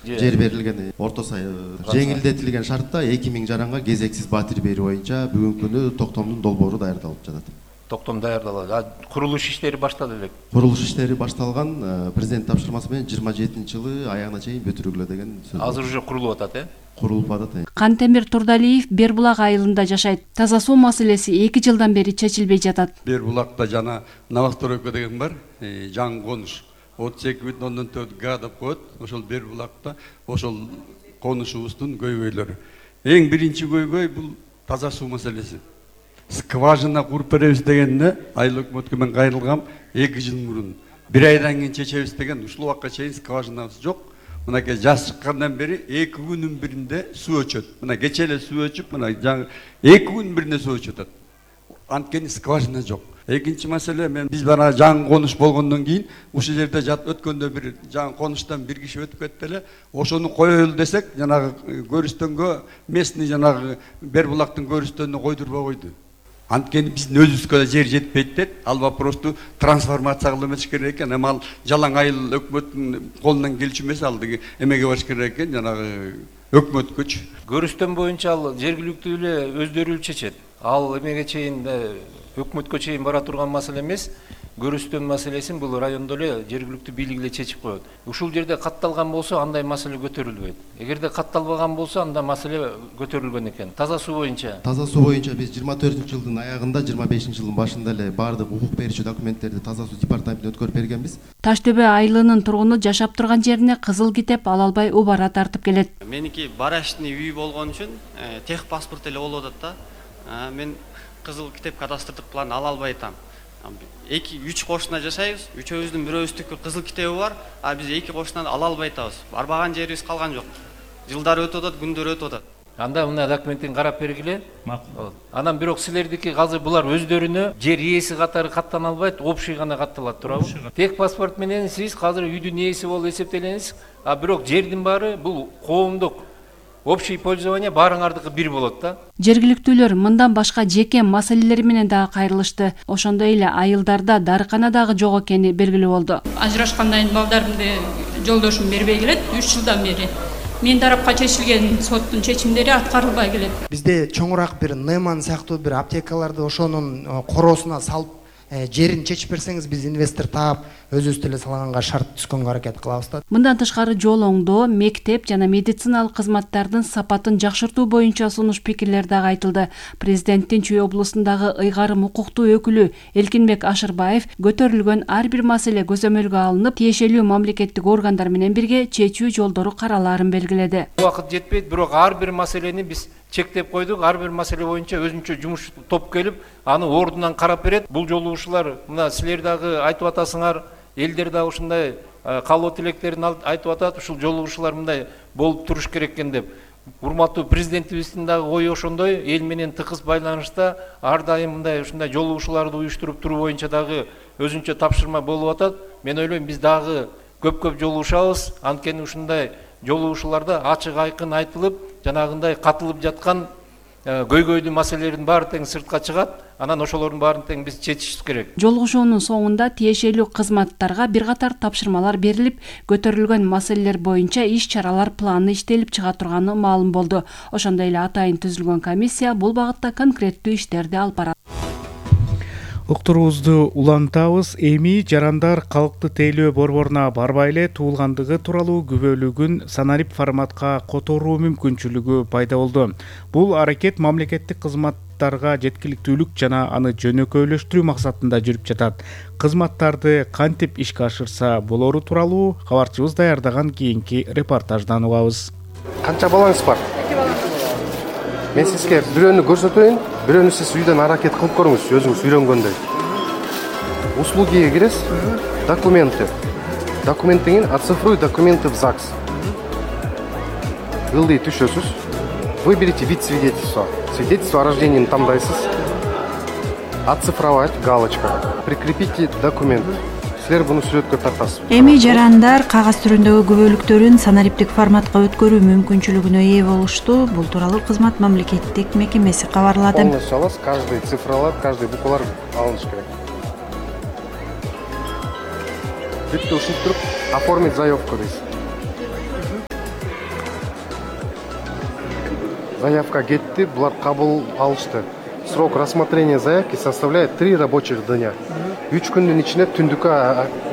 жер берилген орто жеңилдетилген шартта 2000 жаранга кезексиз батир берүү боюнча бүгүнкү күнү токтомдун долбоору даярдалып жатат. Токтом даярдалат. Курулуш иштери башталды элек. Курулуш иштери башталган, президент тапшырмасы менен 27-жылы аягына чейин бүтүрүлгүлө деген сөз. Азыр уже курулуп атат, Курулуп атат. Кантемир Турдалиев Бербулак айылында жашайт. Таза суу маселеси 2 жылдан бери чечилбей жатат. Бербулакта жана Новостройка деген бар, жаңы конуш. 32,4 га деп коет. Ошол Бербулакта ошол конушубуздун көйгөйлөрү. Эң биринчи көйгөй бул таза суу маселеси. Скважина куруп беребиз дегенде айыл өкмөткө мен кайрылгам 2 жыл мурун. 1 айдан кийин чечебиз деген ушул убакка чейин скважинабыз жок. Мынакей жаз чыккандан бери 2 күнүн биринде суу өчөт. Мына кече эле суу өчүп, мына жаңы 2 күнүн биринде суу өчөт. Анткени скважина жок. Экинчи маселе, биз бана жаңы конуш болгондон кийин ушул жерде өткөндө бир жаңы конуштан бир киши өтүп кетти эле. Ошону коелу десек, жанагы көрүстөнгө местный жанагы Бербулактын көрүстөнүнө койдурбай койду. Анткени биздин өзүбүзгө жер жетпейт деп, ал вопросту трансформация кылып эмеш керек экен. Эми ал жалаң айыл өкмөттүн колунан келчү эмес, ал эмеге баш керек экен, жанагы өкмөткөчү. Көрүстөн боюнча ал жергиликтүү эле өздөрү чечет. Ал эмеге чейин өкмөткө чейин бара турган маселе эмес. Көрүстөн маселесин бул райондо эле жергиликтүү бийлик эле чечип коет. Ушул жерде катталган болсо андай маселе көтөрүлбөйт. Эгерде катталбаган болсо анда маселе көтөрүлгөн экен. Таза суу боюнча. Таза суу боюнча биз 24-жылдын аягында, 25-жылдын башында эле баардык укук берүүчү документтерди таза суу департаментине өткөрүп бергенбиз. Таш төбө айылынын тургуну жашап турган жерине кызыл китеп ала албай убара тартып келет. Меники барашный үй болгон үчүн тех паспорт эле болуп атат да. Мен кызыл китеп кадастрдык план ала албай атам. 2-3 кошуна жашайбыз, үчөөбүздүн бирөөбүздүкү кызыл китеби бар, а биз 2 кошунан ала албай атабыз. Барбаган жерибиз калган жок. Жылдар өтүп атат, күндөр өтүп атат. Анда мына документин карап бергиле. Макул. Анан бирок силердики азыр булар өздөрүнө жер ээси катары каттана албайт, общий гана катталат, туурабы? Тех паспорт менен сиз азыр үйдүн ээси болуп эсептелеңиз, а бирок жердин баары бул коомдук общий пользование баарыңардыкы бир болот да. Жергиликтүүлөр мындан башка жеке маселелер менен дагы кайрылышты. Ошондой эле айылдарда дарыкана дагы жок экени белгилүү болду. Ажырашкандан кийин балдарымды жолдошум бербей келет 3 жылдан бери. Мен тарапка чечилген соттун чечимдери аткарылбай келет. Бизде чоңураак бир Неман сыяктуу бир аптекаларды ошонун короосуна салып жерин чечип берсеңиз, биз инвестор таап өзүбүз деле салганга шарт түзгөнгө аракет кылабыз да. Мындан тышкары жол оңдоо, мектеп жана медициналык кызматтардын сапатын жакшыртуу боюнча сунуш пикирлер дагы айтылды. Президенттин Чүй облусундагы ыйгарым укуктуу өкүлү Элкинбек Ашырбаев көтөрүлгөн ар бир маселе көзөмөлгө алынып, тиешелүү мамлекеттик органдар менен бирге чечүү жолдору каралаарын белгиледи. Убакыт жетпейт, бирок ар бир маселени биз чектеп койдук. Ар бир маселе боюнча өзүнчө жумуш топ келип, аны ордунан карап берет. Бул жолу ушулар, мына силер дагы айтып атасыңар, элдер дагы ушундай каалоо тилектерин айтып атат. Ушул жолу ушулар мындай болуп туруш керек экен деп. Урматтуу президентибиздин дагы ою ошондой, эл менен тыкыз байланышта ар дайым мындай ушундай жолугушууларды уюштуруп туруу боюнча дагы өзүнчө тапшырма болуп атат. Мен ойлойм, биз дагы көп жолугушабыз. Анткени ушундай жолугушууларда ачык айкын айтылып, жанагындай катылып жаткан көйгөйлүү маселелердин баары тең сыртка чыгат. Анан ошолордун баарын тең биз чечишибиз керек. Жолугушуунун соңунда тиешелүү кызматтарга бир катар тапшырмалар берилип, көтөрүлгөн маселелер боюнча иш-чаралар планы иштелип чыга турганы маалым болду. Ошондой эле атайын түзүлгөн комиссия бул багытта конкреттүү иштерди алып барат. Уктуруубузду улантабыз. Эми жарандар калкты тейлөө борборуна барбай эле туулгандыгы тууралуу күбөлүгүн санарип форматка которуу мүмкүнчүлүгү пайда болду. Бул аракет мамлекеттик кызматтарга жеткиликтүүлүк жана аны жөнөкөйлөштүрүү максатында жүрүп жатат. Кызматтарды кантип ишке ашырса болору тууралуу кабарчыбыз даярдаган кийинки репортаждан угабыз. Канча балаңыз бар? Мен сизге бирөөнү көрсөтөйүн, бирөөнү сиз үйдөн аракет кылып көрүңүз, өзүңүз үйрөнгөндөй. Услугиге киресиз, документы. Документтен кийин оцифруй документы в ЗАГС. Ылдый түшөсүз. Выберите вид свидетельства. Свидетельство о рождении тандайсыз. Оцифровать, галочка. Прикрепите документ. Силер буну сүрөткө тартасыз. Эми жарандар кагаз түрүндөгү күбөлүктөрүн санариптик форматка өткөрүү мүмкүнчүлүгүнө ээ болушту. Бул тууралуу кызмат мамлекеттик мекемеси кабарлады. Полностью аласыз, каждый цифралар, каждый буквалар алыныш керек. Бүтү ушинтип туруп оформить заявку дейсиз. заявка кетти, булар кабыл алышты. Срок рассмотрения заявки составляет 3 рабочих дня. 3 күндүн ичинде түндүккө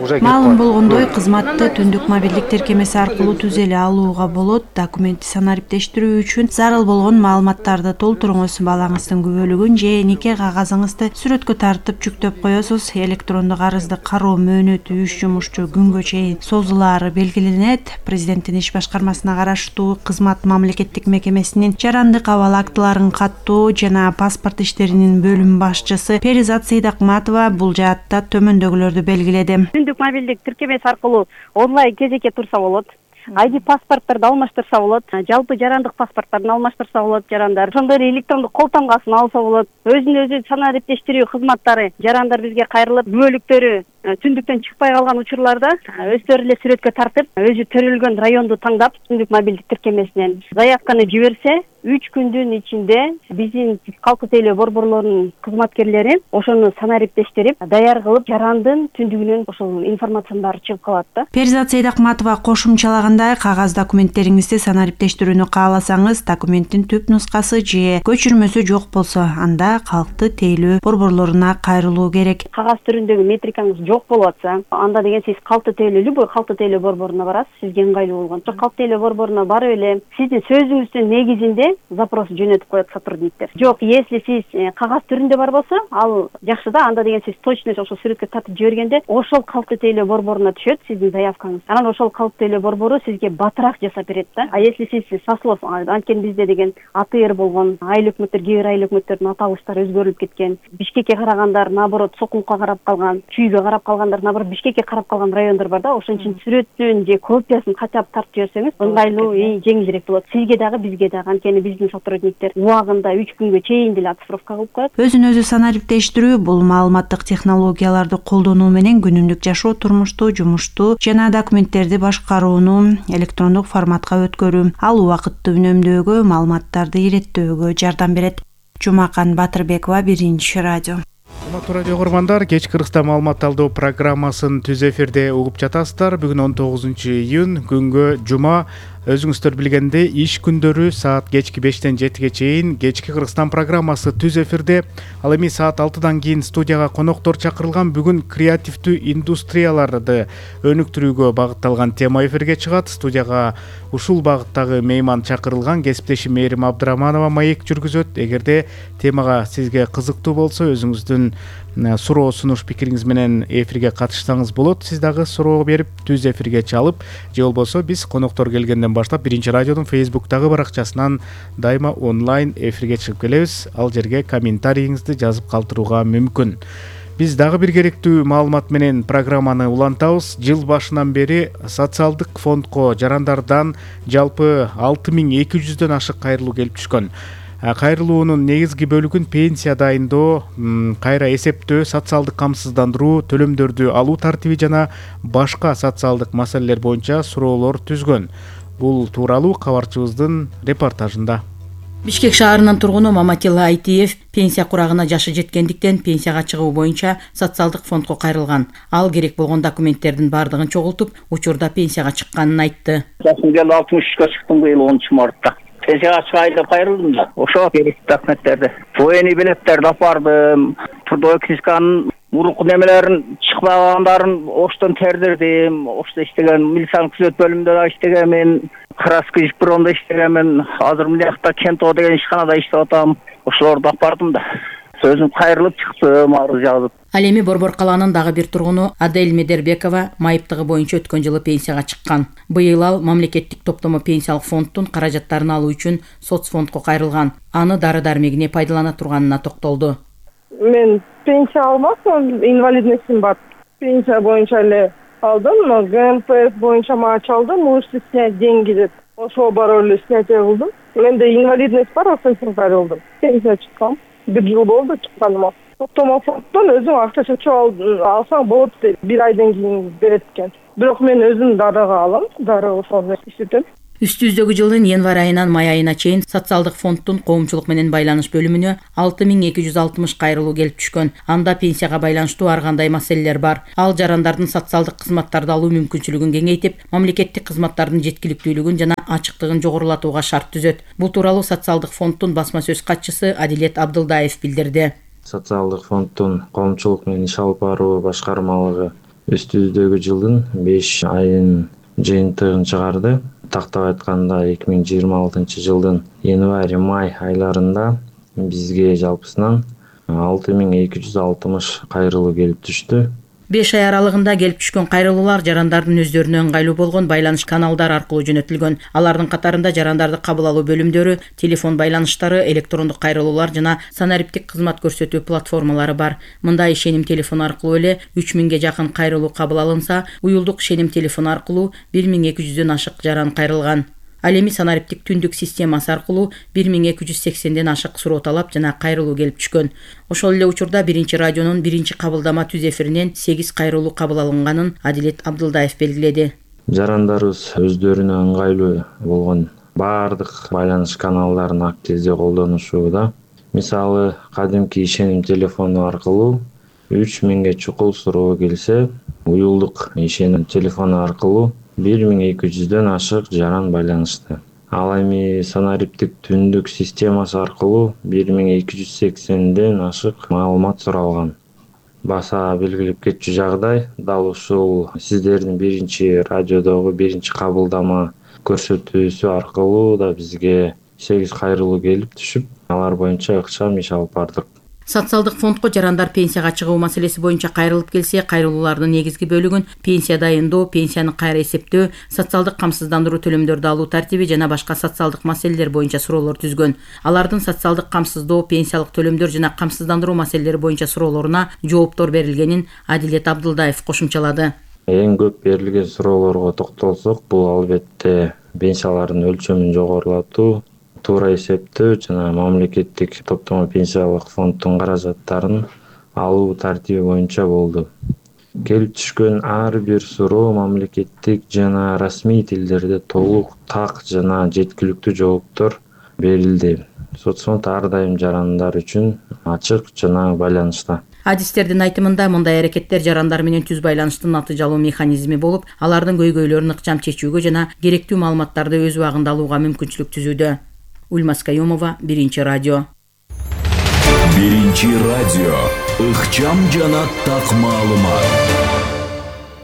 уже кетип Маалым болгондой, кызматты түндүк мобилдик тиркемеси аркылуу түзө эле алууга болот. Документти санариптештирүү үчүн зарыл болгон маалыматтарды толтуруңуз. Балаңыздын күбөлүгүн же нике кагазыңызды сүрөткө тартып жүктөп коесуз. Электрондук арызды кароо мөөнөтү 3 жумушчу күнгө чейин созулаары белгиленет. Президенттин иш башкармасына караштуу кызмат мамлекеттик мекемесинин жарандык абал актыларын каттоо жана паспорт иштеринин бөлүм башчысы Перизат Сейдакматова бул жаатта төмөндөгүлөрдү белгиледи. Түндүк мобилдик тиркемеси аркылуу онлайн кезекке турса болот. ID паспорттарды алмаштырса болот. Жалпы жарандык паспорттарын алмаштырса болот жарандар. Ошондой эле электрондук кол тамгасын алса болот. Өзүн өзү санариптештирүү кызматтары жарандар бизге кайрылып, күбөлүктөрү түндүктөн чыкпай калган учурларда өздөрү эле сүрөткө тартып, өзү төрөлгөн районду таңдап, түндүк мобилдик тиркемесинен заявканы жиберсе, 3 күндүн ичинде биздин калктык тейлөө борборлорунун кызматкерлери ошону санариптештирип, даяр кылып, жарандын түндүгүнөн ошол информациянын баары чыгып калат да. Перизат Сейдакматова кошумчалагандай, кагаз документтериңизди санариптештирүүнү кааласаңыз, документтин түп нускасы же көчүрмөсү жок болсо, анда калктык тейлөө борборлоруна кайрылуу керек. Кагаз түрүндөгү метрикаңыз жок болуп атса, анда деген сиз калктык тейлөө, любой калктык тейлөө борборуна барасыз, сизге ыңгайлуу болгон. Ошо калктык тейлөө борборуна барып эле сиздин сөзүңүздүн негизинде запрос жөнөтүп коет сотрудниктер. Жок, если сиз кагаз түрүндө бар болсо, ал жакшы да, анда деген сиз точно ошол сүрөткө тартып жибергенде, ошол калктык тейлөө борборуна түшөт сиздин заявкаңыз. Анан ошол калктык тейлөө борбору сизге батыраак жасап берет да. А если сиз сослов, анткени бизде деген АТР болгон, айыл өкмөттөр, кээ бир айыл өкмөттөрдүн аталыштары өзгөрүлүп кеткен. Бишкекке карагандар наоборот Сокулукка карап калган, Чүйгө карап калгандар наоборот Бишкекке карап калган райондор бар да. Ошон үчүн сүрөттүн же копиясын качап тартып жиберсеңиз, ыңгайлуу, жеңилирээк болот. Сизге дагы, бизге дагы. Анткени биздин сотрудниктер убагында 3 күнгө чейин деле оцифровка кылып коет. Өзүн өзү санариптештирүү бул маалыматтык технологияларды колдонуу менен күнүмдүк жашоо, турмушту, жумушту жана документтерди башкарууну электрондук форматка өткөрүү, ал убакытты үнөмдөөгө, маалыматтарды иреттөөгө жардам берет. Жумакан Батырбекова, Биринчи радио. Урматтуу радио көргөрмандар, кечки Кыргызстан маалымат алдоо программасын түз эфирде угуп жатасыздар. Бүгүн 19-июнь, күнгө жума. Өзүңүздөр билгендей, иш күндөрү саат кечки 5-тен 7-ге чейин кечки Кыргызстан программасы түз эфирде. Ал эми саат 6-дан кийин студияга коноктор чакырылган. Бүгүн креативдүү индустрияларды өнүктүрүүгө багытталган тема эфирге чыгат. Студияга ушул багыттагы мейман чакырылган. Кесиптешим Мээрим Абдыраманова маек жүргүзөт. Эгерде темага сизге кызыктуу болсо, өзүңүздүн суроо, сунуш, пикириңиз менен эфирге катышсаңыз болот. Сиз дагы суроо берип, түз эфирге чалып, же болбосо биз коноктор келгенден баштап Биринчи радиодун Facebook'тагы баракчасынан дайыма онлайн эфирге чыгып келебиз. Ал жерге комментарийиңизди жазып калтырууга мүмкүн. Биз дагы бир керектүү маалымат менен программаны улантабыз. Жыл башынан бери социалдык фондко жарандардан жалпы 6200дөн ашык кайрылуу келип түшкөн. Кайрылуунун негизги бөлүгүн пенсия дайындоо, кайра эсептөө, социалдык камсыздандыруу, төлөмдөрдү алуу тартиби жана башка социалдык маселелер боюнча суроолор түзгөн. Бул тууралуу кабарчыбыздын репортажында. Бишкек шаарынын тургуну Маматилла Айтиев пенсия курагына жашы жеткендиктен пенсияга чыгуу боюнча социалдык фондко кайрылган. Ал керек болгон документтердин бардыгын чогултуп, учурда пенсияга чыкканын айтты. Жашым келди 63-кө чыктым быйыл 10-мартта. Пенсияга чыгайын деп кайрылдым да. Ошо керектүү документтерди, военный билеттерди апардым, трудовой книжканын мурунку немелерин чыкпагандарын оштон тердирдим. Ошто иштеген милициянын күзөт бөлүмүндө да иштегенмин, краска бюрондо иштегенмин. Азыр мындакта Кентоо деген ишканада иштеп атам. Ошолорду апардым да. Сөзүм кайрылып чыктым, арыз жазып. Ал эми Борбор калаанын дагы бир тургуну Адель Медербекова майыптыгы боюнча өткөн жылы пенсияга чыккан. Быйыл ал мамлекеттик топтомо пенсиялык фонддун каражаттарын алуу үчүн соцфондко кайрылган. Аны дары-дармегине пайдалана турганына токтолду. Мен пенсия алмакмын, инвалидностьум бар. Пенсия боюнча эле алдым, но ГМПС боюнча маач алдым, можете снять деньги деп. Ошого барып эле снятие кылдым. Менде инвалидность бар, ошон үчүн кайрылдым. Пенсия чыккам. 1 жыл болду чыкканыма. топтомо фонддон өзүң акча чечип алсаң болот дейт. 1 айдан кийин берет экен. Бирок мен өзүм дарыга алам, дары ошону иштетем. Үстүбүздөгү жылдын январь айынан май айына чейин социалдык фонддун коомчулук менен байланыш бөлүмүнө 6260 кайрылуу келип түшкөн. Анда пенсияга байланыштуу ар кандай маселелер бар. Ал жарандардын социалдык кызматтарды алуу мүмкүнчүлүгүн кеңейтип, мамлекеттик кызматтардын жеткиликтүүлүгүн жана ачыктыгын жогорулатууга шарт түзөт. Бул тууралуу социалдык фонддун басма сөз катчысы Адилет Абдылдаев билдирди. Социалдык фонддун коомчулук менен иш алып баруу башкармалыгы үстүбүздөгү жылдын 5 айын жыйынтыгын чыгарды. Тактап айтканда 2026 жылдын январь-май айларында бизге жалпысынан 6260 кайрылуу келип түштү. 5 ай аралыгында келип түшкөн кайрылуулар жарандардын өздөрүнө ыңгайлуу болгон байланыш каналдары аркылуу жөнөтүлгөн. Алардын катарында жарандарды кабыл алуу бөлүмдөрү, телефон байланыштары, электрондук кайрылуулар жана санариптик кызмат көрсөтүү платформалары бар. Мындай ишеним телефону аркылуу эле 3000ге жакын кайрылуу кабыл алынса, уюлдук ишеним телефону аркылуу 1200дөн ашык жаран кайрылган. Ал эми санариптик түндүк системасы аркылуу 1280ден ашык суроо талап жана кайрылуу келип түшкөн. Ошол эле учурда биринчи радионун биринчи кабылдама түз эфиринен 8 кайрылуу кабыл алынганын Адилет Абдылдаев белгиледи. Жарандарыбыз өздөрүнө ыңгайлуу болгон баардык байланыш каналдарын активдүү колдонушууда. Мисалы, кадимки ишеним телефону аркылуу 3000ге чукул суроо келсе, уюлдук ишеним телефону аркылуу 1200дөн ашык жаран байланышты. Ал эми санариптик түндүк системасы аркылуу 1280ден ашык маалымат суралган. Баса белгилеп кетчү жагдай, дал ушул сиздердин биринчи радиодогу биринчи кабылдама көрсөтүүсү аркылуу да бизге 8 кайрылуу келип түшүп, алар боюнча ыкчам иш алып бардык. Социалдык фондко жарандар пенсияга чыгуу маселеси боюнча кайрылып келсе, кайрылуулардын негизги бөлүгүн пенсия дайындоо, пенсияны кайра эсептөө, социалдык камсыздандыруу төлөмдөрдү алуу тартиби жана башка социалдык маселелер боюнча суроолор түзгөн. Алардын социалдык камсыздоо, пенсиялык төлөмдөр жана камсыздандыруу маселелери боюнча суроолоруна жооптор берилгенин Адилет Абдылдаев кошумчалады. Эң көп берилген суроолорго токтолсок, бул албетте пенсиялардын өлчөмүн жогорулатуу, туура эсептөө жана мамлекеттик топтомо пенсиялык фонддун каражаттарын алуу тартиби боюнча болду. Келип түшкөн ар бир суроо мамлекеттик жана расмий тилдерде толук, так жана жеткиликтүү жооптор берилди. Соцфонд ар дайым жарандар үчүн ачык жана байланышта. Адистердин айтымында мындай аракеттер жарандар менен түз байланыштын натыйжалуу механизми болуп, алардын көйгөйлөрүн ыкчам чечүүгө жана керектүү маалыматтарды өз убагында алууга мүмкүнчүлүк түзүүдө. Ульмас Каюмова, Биринчи радио. Биринчи радио. Ыкчам жана так маалымат.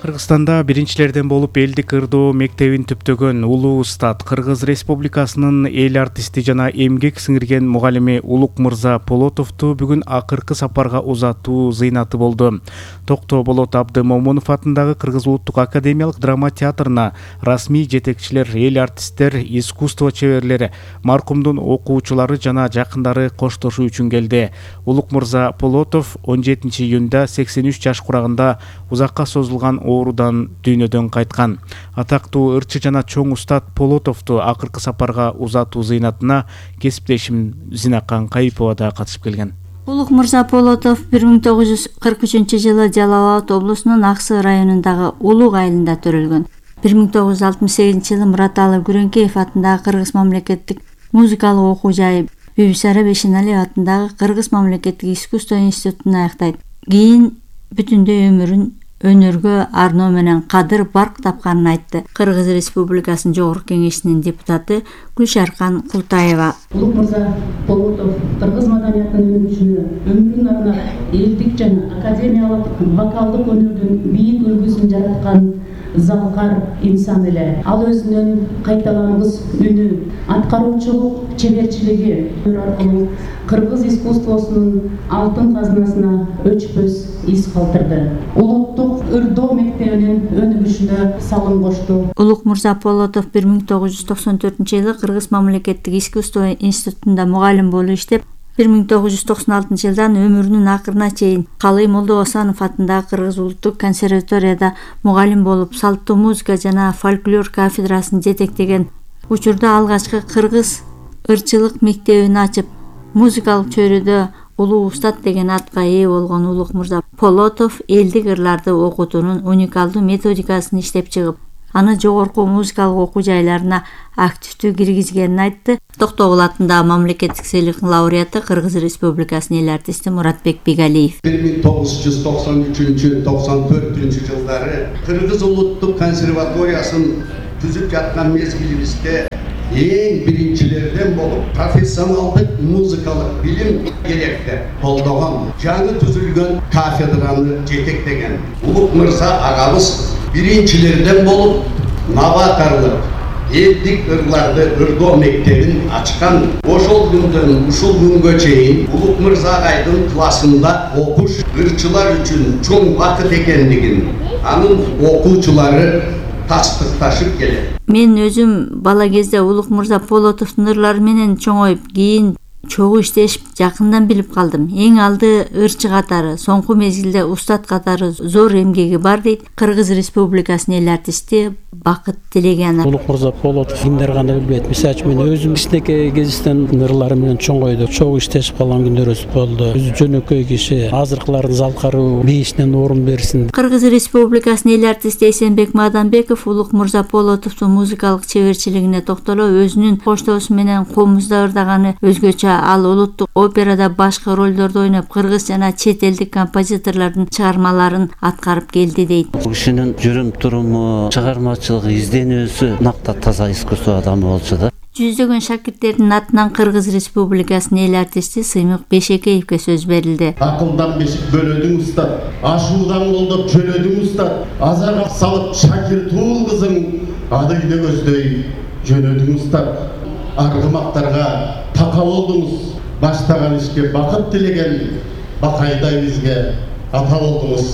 Кыргызстанда биринчилерден болуп элдик ырдоо мектебин түптөгөн улуу устат Кыргыз Республикасынын эл артисти жана эмгек сиңирген мугалими Улук Мырза Полотовду бүгүн акыркы сапарга узатуу зыйнаты болду. Токто Болот Абдымомунов атындагы Кыргыз Улуттук академиялык драма театрына расмий жетекчилер, эл артисттер, искусство чеберлери, маркумдун окуучулары жана жакындары коштошуу үчүн келди. Улук Мырза Полотов 17 июнда 83 жаш курагында узакка созулган оорудан дүйнөдөн кайткан. Атактуу ырчы жана чоң устат Полотовду акыркы сапарга узатуу зыйнатына кесиптешим Зинакан Кайыпова да катышып келген. Улук Мырза Полотов 1943-жылы Жалал Абад облусунун Аксы районундагы Улук айылында төрөлгөн. 1968-жылы Мураталы Күрөңкеев атындагы Кыргыз мамлекеттик музыкалык окуу жайы, Бибисара Бешеналиев атындагы Кыргыз мамлекеттик искусство институтун аяктайт. Кийин бүтүндөй өмүрүн өнөргө арноо менен кадыр барк тапканын айтты. Кыргыз Республикасынын Жогорку Кеңешинин депутаты Гүлшаркан Култаева. Улук Мырза Полотов кыргыз маданиятынын өнүгүшүнө өмүрүн арнап элдик жана академиялык вокалдык өнөрдүн бийик үлгүсүн жараткан залкар инсан эле. Ал өзүнүн кайталамгыс үнү, аткаруучулук чеберчилиги аркылуу кыргыз искусствосунун алтын казынасына өчпөс из калтырды. Улуттук ырдоо мектебинин өнүгүшүнө салым кошту. Улук Мырза Полотов 1994-жылы Кыргыз мамлекеттик искусство институтунда мугалим болуп иштеп, 1996-жылдан өмүрүнүн акырына чейин Калый Молдо Осанов атындагы Кыргыз улуттук консерваторияда мугалим болуп, салттуу музыка жана фольклор кафедрасын жетектеген. Учурда алгачкы кыргыз ырчылык мектебин ачып, музыкалык чөйрөдө улуу устат деген атка ээ болгон Улукмырза Полотов элдик ырларды окутуунун уникалдуу методикасын иштеп чыгып, аны жогорку музыкалык окуу жайларына активдүү киргизгенин айтты. Токтогул атындагы мамлекеттик сыйлыктын лауреаты Кыргыз Республикасынын эл артисти Муратбек Бигалиев. 1993-94 жылдары Кыргыз улуттук консерваториясын түзүп жаткан мезгилибизде эң биринчилерден болуп профессионалдык музыкалык билим керекти колдогон, жаңы түзүлгөн кафедраны жетектеген Улукмырза агабыз биринчилерден болуп новаторлук элдик ырларды ырдоо мектебин ачкан. Ошол күндөн ушул күнгө чейин Улукмырза агайдын классында окуш ырчылар үчүн чоң бакыт экендигин анын окуучулары тастыкташып келет. Мен өзүм бала кезде Улукмырза Полотовдун ырлары менен чоңоюп, кийин чогуу иштешип жакындан билип калдым. Эң алды ырчы катары, соңку мезгилде устат катары зор эмгеги бар дейт Кыргыз Республикасынын эл артисти Бакыт Телегенов. Улукмырза Полотов кимдер кандай билбейт. Мисалы үчүн мен өзүм кичинекей кезиштен ырлары менен чоңойдук, чогуу иштешип калган күндөрүбүз болду. Өзү жөнөкөй киши, азыркылардын залкаруу бейишинен орун берсин. Кыргыз Республикасынын эл артисти Эсенбек Маданбеков Улукмырза Полотовдун музыкалык чеберчилигине токтолуп, өзүнүн коштоосу менен комузда ырдаганы өзгөчө. Ал улуттук операда башкы ролдорду ойноп, кыргыз жана чет элдик композиторлордун чыгармаларын аткарып келди дейт. Бул кишинин жүрүм туруму, чыгармачылыгы, изденүүсү накта таза искусство адамы болчу да. Жүздөгөн шакирттердин атынан Кыргыз Республикасынын эл артисти Сыймык Бешекеевке сөз берилди. Акылдан бешик бөлөдүң устат, ашуудан колдоп жөлөдүң устат, азарга салып Шакир Туул кызың ады үйдө көздөй жөнөдүң устат. Аргымактарга така болдуңуз, баштаган ишке бакыт тилеген бакайдай бизге ата болдуңуз.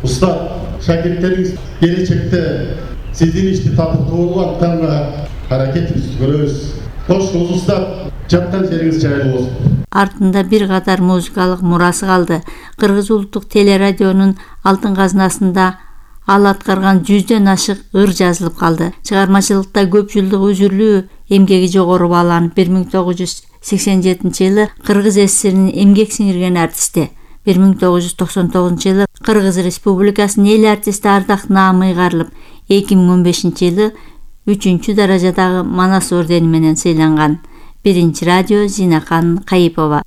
Устат, шакирттериңиз келечекте сиздин ишти татыктуу атканга аракетибизди көрөбүз. Кошуңуз устат, жаткан жериңиз жайлуу болсун. Артында бир катар музыкалык мурасы калды. Кыргыз улуттук телерадионун алтын казынасында ал аткарган 100дөн ашык ыр жазылып калды. Чыгармачылыкта көп жылдык үзүрлүү эмгеги жогору бааланып, 1987-жылы Кыргыз СССРинин эмгек сиңирген артисти, 1999-жылы Кыргыз Республикасынын эл артисти Ардак Наам ыйгарылып, 2015-жылы 3-чү даражадагы Манас ордени менен сыйланган. Биринчи радио Зинакан Кайыпова.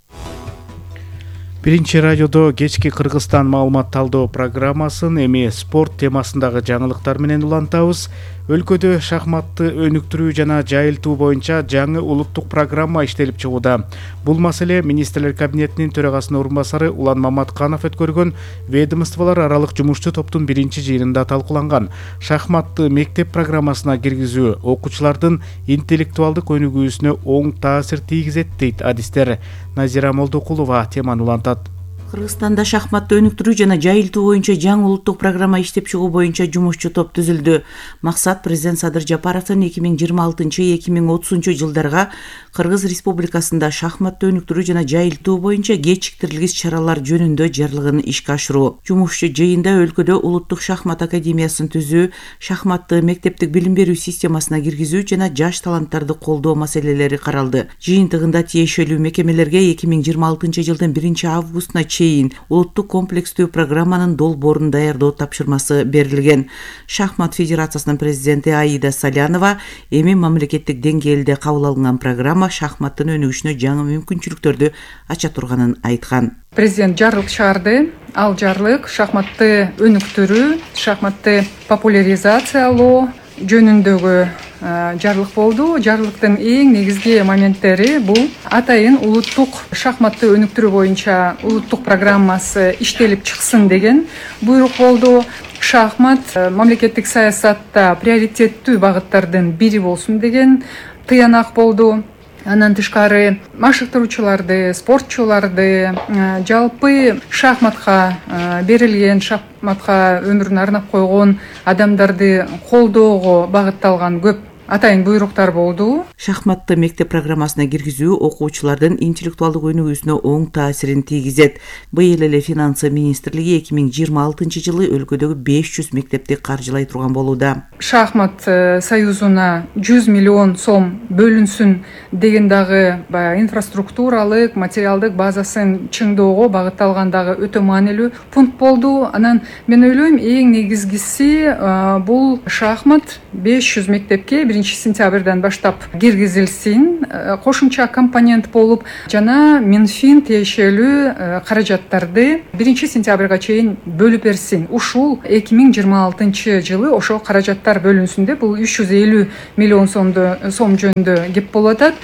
Биринчи радиодо кечки Кыргызстан маалымат талдоо программасын эми спорт темасындагы жаңылыктар менен улантабыз. Өлкөдө шахматты өнүктүрүү жана жайылтуу боюнча жаңы улуттук программа иштелип чыгууда. Бул маселе Министрлер кабинетинин төрагасынын орун басары Улан Маматканов өткөргөн ведомстволор аралык жумушчу топтун биринчи жыйынында талкууланган. Шахматты мектеп программасына киргизүү окуучулардын интеллектуалдык өнүгүүсүнө оң таасир тийгизет дейт адистер. Назира Молдокулова теманы улантат. Кыргызстанда шахматты өнүктүрүү жана жайылтуу боюнча жаңы улуттук программа иштеп чыгуу боюнча жумушчу топ түзүлдү. Максат президент Садыр Жапаровдун 2026-2030 жылдарга Кыргыз Республикасында шахматты өнүктүрүү жана жайылтуу боюнча кечиктирилгис чаралар жөнүндө жарлыгын ишке ашыруу. Жумушчу жыйында өлкөдө улуттук шахмат академиясын түзүү, шахматты мектептик билим берүү системасына киргизүү жана жаш таланттарды колдоо маселелери каралды. Жыйынтыгында тиешелүү мекемелерге 2026 жылдын 1-августуна чейин улуттук комплекстүү программанын долбоорун даярдоо тапшырмасы берилген. Шахмат федерациясынын президенти Аида Салянова эми мамлекеттик деңгээлде кабыл алынган программа шахматтын өнүгүшүнө жаңы мүмкүнчүлүктөрдү ача турганын айткан. Президент жарлык чыгарды. Ал жарлык шахматты өнүктүрүү, шахматты популяризациялоо жөнүндөгү жарлык болду. Жарлыктын эң негизги моменттери бул атайын улуттук шахматты өнүктүрүү боюнча улуттук программасы иштелип чыксын деген буйрук болду. Шахмат мамлекеттик саясатта приоритеттүү багыттардын бири болсун деген тыянак болду. Андан тышкары машыктыруучуларды, спортчуларды, жалпы шахматка берилген, шахматка өмүрүн арнап койгон адамдарды колдоого багытталган көп атайын буйруктар болду. Шахматты мектеп программасына киргизүү окуучулардын интеллектуалдык өнүгүүсүнө оң таасирин тийгизет. Быйыл эле Финансы министрлиги 2026-жылы өлкөдөгү 500 мектепти каржылай турган болууда. Шахмат союзуна 100 миллион сом бөлүнсүн деген дагы инфраструктуралык, материалдык базасын чыңдоого багытталган дагы өтө маанилүү пункт болду. Анан мен ойлойм, эң негизгиси бул шахмат 500 мектепке 1-сентябрдан баштап киргизилсин, кошумча компонент болуп, жана Минфин тиешелүү каражаттарды 1-сентябрга чейин бөлүп берсин. Ушул 2026-жылы ошо каражаттар бөлүнсүндө бул 350 миллион сом жөнүндө кеп болуп атат.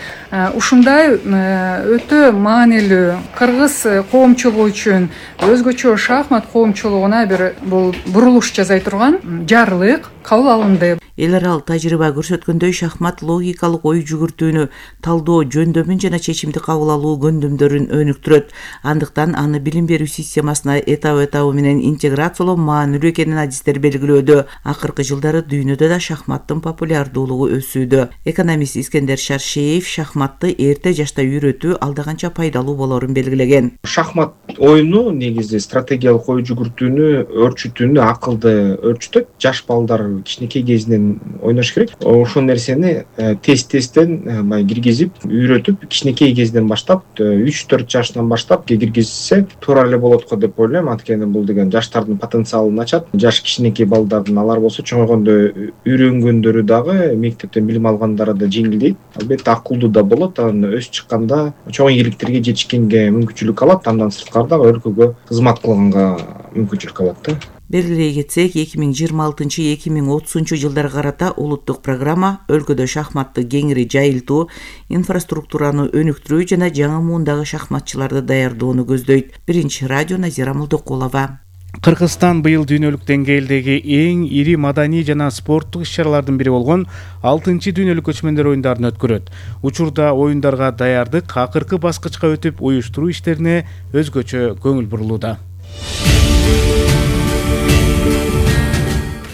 Ушундай өтө маанилүү кыргыз коомчулугу үчүн, өзгөчө шахмат коомчулугуна бир бул бурулуш жасай турган жарлык кабыл алынды. Эл аралык тажрыйба көрсөткөндөй, шахмат логикалык ой жүгүртүүнү, талдоо, жөндөмүн жана чечимди кабыл алуу көндүмдөрүн өнүктүрөт. Андыктан аны билим берүү системасына этабы менен интеграциялоо маанилүү экенин адистер белгилөөдө. Акыркы жылдары дүйнөдө да шахматтын популярдуулугу өсүүдө. Экономист Искендер Шаршеев шахматты эрте жашта үйрөтүү алда канча пайдалуу болорун белгилеген. Шахмат оюну негизи стратегиялык ой жүгүртүүнү өөрчүтүүнү акылды өөрчүтөт. Жаш балдар кичинекей кезинен ойнош керек. Ошол нерсени тесттен киргизип, үйрөтүп, кичинекей кезинен баштап, 3-4 жаштан баштап киргизсе туура эле болот го деп ойлойм. Анткени бул деген жаштардын потенциалын ачат. Жаш кичинекей балдардын алар болсо чоңойгондо үйрөнгөндөрү дагы, мектептен билим алгандары да жеңилдейт. Албетте акылдуу да болот. Анан өсүп чыкканда чоң ийгиликтерге жетишкенге мүмкүнчүлүк алат. Андан сырткары дагы өлкөгө кызмат кылганга мүмкүнчүлүк алат да. Белгилей кетсек, 2026-2030 жылдарга карата улуттук программа өлкөдө шахматты кеңири жайылтуу, инфраструктураны өнүктүрүү жана жаңы муундагы шахматчыларды даярдоону көздөйт. Биринчи радио Назира Молдокулова. Кыргызстан быйыл дүйнөлүк деңгээлдеги эң ири маданий жана спорттук иш-чаралардын бири болгон 6-чы дүйнөлүк көчмөндөр оюндарын өткөрөт. Учурда оюндарга даярдык акыркы баскычка өтүп, уюштуруу иштерине өзгөчө көңүл бурулууда.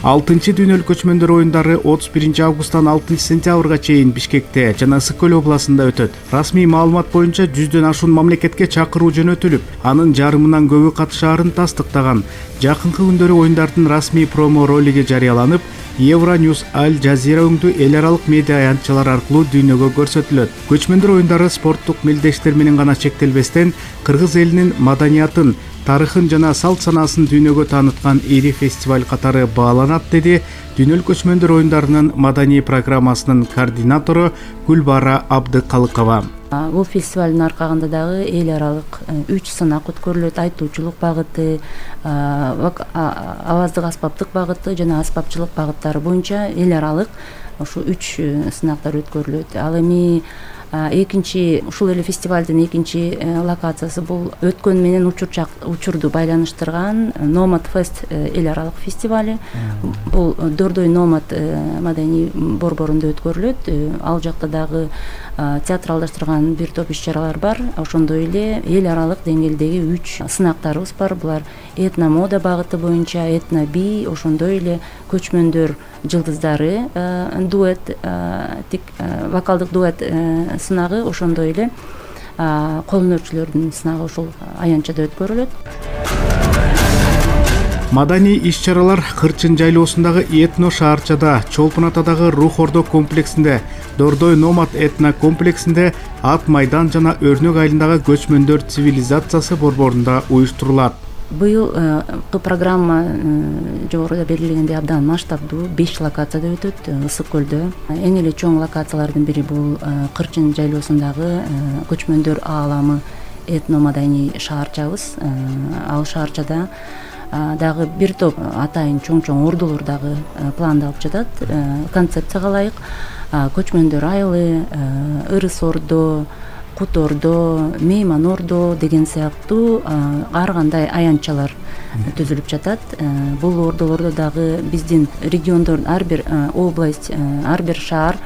6-чы дүйнөлүк көчмөндөр оюндары 31-августтан 6-сентябрга чейин Бишкекте жана Ысык-Көл областында өтөт. Расмий маалымат боюнча 100дөн ашуун мамлекетке чакыруу жөнөтүлүп, анын жарымынан көбү катышаарын тастыктаган. Жакынкы күндөрү оюндардын расмий промо ролиги жарыяланып, Евроньюз Аль Жазира өңдүү эл аралык медиа аянтчалар аркылуу дүйнөгө көрсөтүлөт. Көчмөндөр оюндары спорттук мелдештер менен гана чектелбестен, кыргыз элинин маданиятын, тарыхын жана салт санаасын дүйнөгө тааныткан ири фестиваль катары бааланат, деди дүйнөлүк көчмөндөр оюндарынын маданий программасынын координатору Гүлбара Абдыкалыкова. Бул фестивалдын аркагында дагы эл аралык 3 сынак өткөрүлөт: айтуучулук багыты, аваздык аспаптык багыты жана аспапчылык багыттары боюнча эл аралык ушу 3 сынактар өткөрүлөт. Ал эми ушул эле фестивалдын экинчи локациясы бул өткөн менен учурду байланыштырган Номад Фест эл аралык фестивали. Бул Дордой Номад маданий борборунда өткөрүлөт. Ал жакта дагы театралдаштырган бир топ иш-чаралар бар. Ошондой эле эл аралык деңгээлдеги 3 сынактарыбыз бар. Булар этно-мода багыты боюнча, этно-би, ошондой эле көчмөндөр жылдыздары дуэт, вокалдык дуэт сынагы, ошондой эле кол өнөрчүлөрдүн сынагы ушул аянтчада өткөрүлөт. Маданий иш-чаралар Кырчын жайлоосундагы этно шаарчада, Чолпон Атадагы Рух Ордо комплексинде, Дордой Номад этно комплексинде, Ат майдан жана Өрнөк айылындагы көчмөндөр цивилизациясы борборунда уюштурулат. Быйыл программа жогоруда белгилегендей абдан масштабдуу, 5 локацияда өтөт. Ысык-Көлдө эң эле чоң локациялардын бири бул Кырчын жайлоосундагы көчмөндөр ааламы этно-маданий шаарчабыз. Ал шаарчада дагы бир топ атайын чоң ордолор дагы пландалып жатат. Концепцияга ылайык көчмөндөр айылы, Ырыс Ордо, Кут Ордо, Мейман Ордо деген сыяктуу ар кандай аянтчалар түзүлүп жатат. Бул ордолордо дагы биздин региондор, ар бир область, ар бир шаар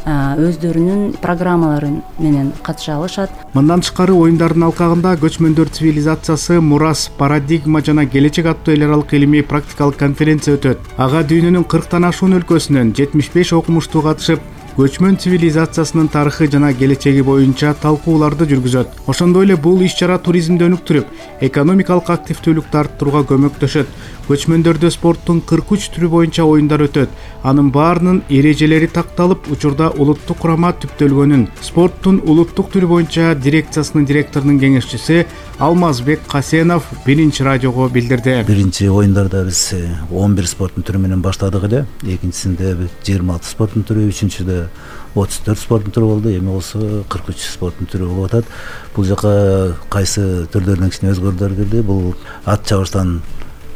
өздөрүнүн программалары менен катыша алышат. Мындан тышкары оюндардын алкагында көчмөндөр цивилизациясы, мурас, парадигма жана келечек аттуу эл аралык илимий практикалык конференция өтөт. Ага дүйнөнүн 40тан ашуун өлкөсүнөн 75 окумуштуу катышып, көчмөн цивилизациясынын тарыхы жана келечеги боюнча талкууларды жүргүзөт. Ошондой эле бул иш-чара туризмди өнүктүрүп, экономикалык активдүүлүктү арттырууга көмөктөшөт. Көчмөндөрдө спорттун 43 түрү боюнча оюндар өтөт. Анын баарынын эрежелери такталып, учурда улуттук курама түптөлгөнүн спорттун улуттук түрү боюнча дирекциясынын директорунун кеңешчиси Алмазбек Касенов биринчи радиого билдирди. Биринчи оюндарда биз 11 спорттун түрү менен баштадык эле. Экинчисинде 26 спорттун түрү, үчүнчүдө 34 спорттун түрү болду. Эми болсо 43 спорттун түрү болуп атат. Бул жака кайсы түрлөрүнөн кичине өзгөрүүлөр кирди. Бул ат чабыштан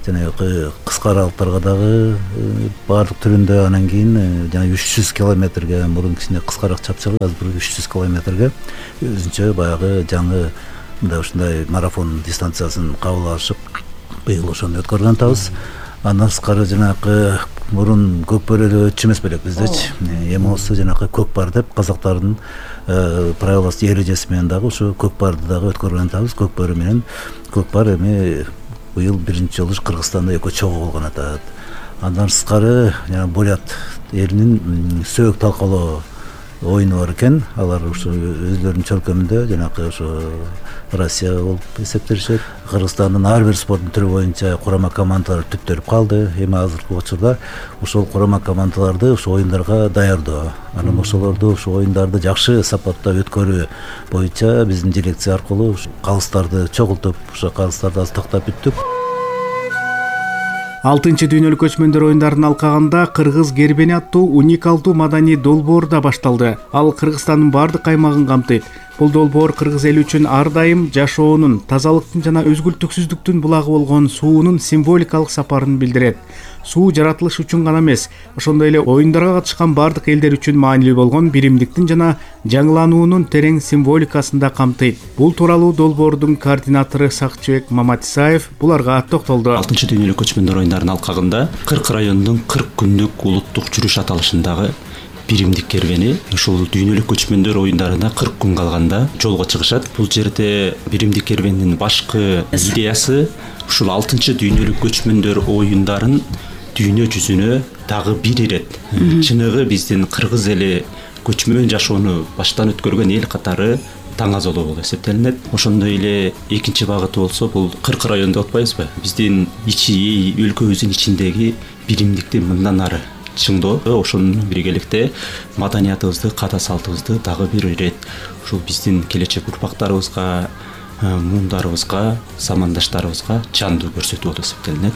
жанагы кыска аралыктарга дагы баардык түрүндө, анан кийин жана 300 километрге мурун кичине кыскараак чапчыгы, азыр 300 километрге өзүнчө баягы жаңы мындай ушундай марафон дистанциясын кабыл алышып, быйыл ошону өткөргөн атабыз. Андан сырткары жанагы мурун көкбөрү өтчү эмес белек биздечи. Эми болсо жанагы көкпар деп казактардын правиласы эрежеси менен дагы ушу көкпарды дагы өткөргөн атабыз. Көкбөрү менен көкпар эми быйыл биринчи жолу Кыргызстанда экөө чогуу болгон атат. Андан сырткары жана Бурят элинин сөөк талкалоо оюну бар экен. Алар ушу өздөрүнүн чөлкөмүндө жанагы ошо Россия болуп эсептелишет. Кыргызстандын ар бир спорттун түрү боюнча курама командалар түптөлүп калды. Эми азыркы учурда ошол курама командаларды ошо оюндарга даярдоо, анан ошолорду ошо оюндарды жакшы сапатта өткөрүү боюнча биздин дирекция аркылуу калыстарды чогултуп, ошо калыстарды азыр тактап бүттүк. 6-чы дүйнөлүк көчмөндөр оюндарынын алкагында кыргыз кербени аттуу уникалдуу маданий долбоор да башталды. Ал Кыргызстандын бардык аймагын камтыйт. Бул долбоор кыргыз эли үчүн ар дайым жашоонун, тазалыктын жана өзгүлтүксүздүктүн булагы болгон суунун символикалык сапарын билдирет. Суу жаратылыш үчүн гана эмес, ошондой эле оюндарга катышкан бардык элдер үчүн маанилүү болгон биримдиктин жана жаңылануунун терең символикасын да камтыйт. Бул тууралуу долбоордун координатору Сакчыбек Маматисаев буларга токтолду. 6-чы дүйнөлүк көчмөндөр оюндарынын алкагында 40 райондун 40 күндүк улуттук жүрүш аталышындагы биримдик кербени ушул дүйнөлүк көчмөндөр оюндарына 40 күн калганда жолго чыгышат. Бул жерде биримдик кербенин башкы идеясы ушул 6-чы дүйнөлүк көчмөндөр оюндарын дүйнө жүзүнө дагы бир ирет чыныгы биздин кыргыз эли көчмөн жашоону баштан өткөргөн эл катары таңазолоо болуп эсептелинет. Ошондой эле экинчи багыты болсо бул 40 район деп атпайбызбы? Биздин өлкөбүздүн ичиндеги биримдикти мындан ары чыңдоо, ошонун биргеликте маданиятыбызды, ката салтыбызды дагы бир ирет ушул биздин келечек урпактарыбызга, муундарыбызга, замандаштарыбызга жандуу көрсөтүү болуп эсептелинет.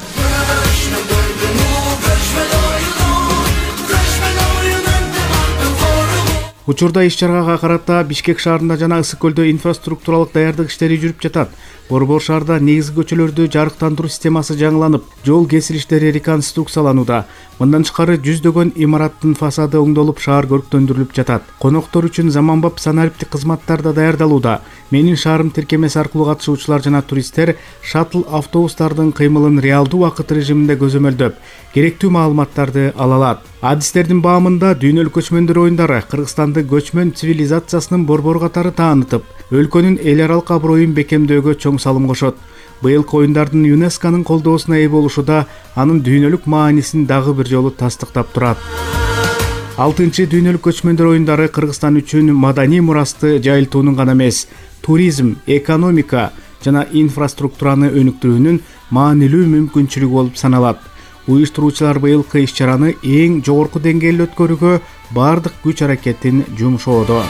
Учурда иш-чарага карата Бишкек шаарында жана Ысык көлдө инфраструктуралык даярдык иштери жүрүп жатат. Борбор шаарда негизги көчөлөрдү жарыктандыруу системасы жаңыланып, жол кесилиштери реконструкцияланууда. Мындан тышкары жүздөгөн имараттын фасады оңдолуп, шаар көрктөндүрүлүп жатат. Коноктор үчүн заманбап санариптик кызматтар да даярдалууда. Менин шаарым тиркемеси аркылуу катышуучулар жана туристтер шаттл автобустардын кыймылын реалдуу убакыт режиминде көзөмөлдөп, керектүү маалыматтарды ала алат. Адистердин баамында дүйнөлүк көчмөндөр оюндары Кыргызстанды көчмөн цивилизациясынын борбору катары таанытып, өлкөнүн эл аралык аброюн бекемдөөгө чоң салым кошот. Быйылкы оюндардын ЮНЕСКОнун колдоосуна ээ болушу да анын дүйнөлүк маанисин дагы бир жолу тастыктап турат. 6-чы дүйнөлүк көчмөндөр оюндары Кыргызстан үчүн маданий мурасты жайылтуунун гана эмес, туризм, экономика жана инфраструктураны өнүктүрүүнүн маанилүү мүмкүнчүлүгү болуп саналат. Уюштуруучулар быйылкы иш-чараны эң жогорку деңгээлде өткөрүүгө бардык күч аракетин жумшоодо.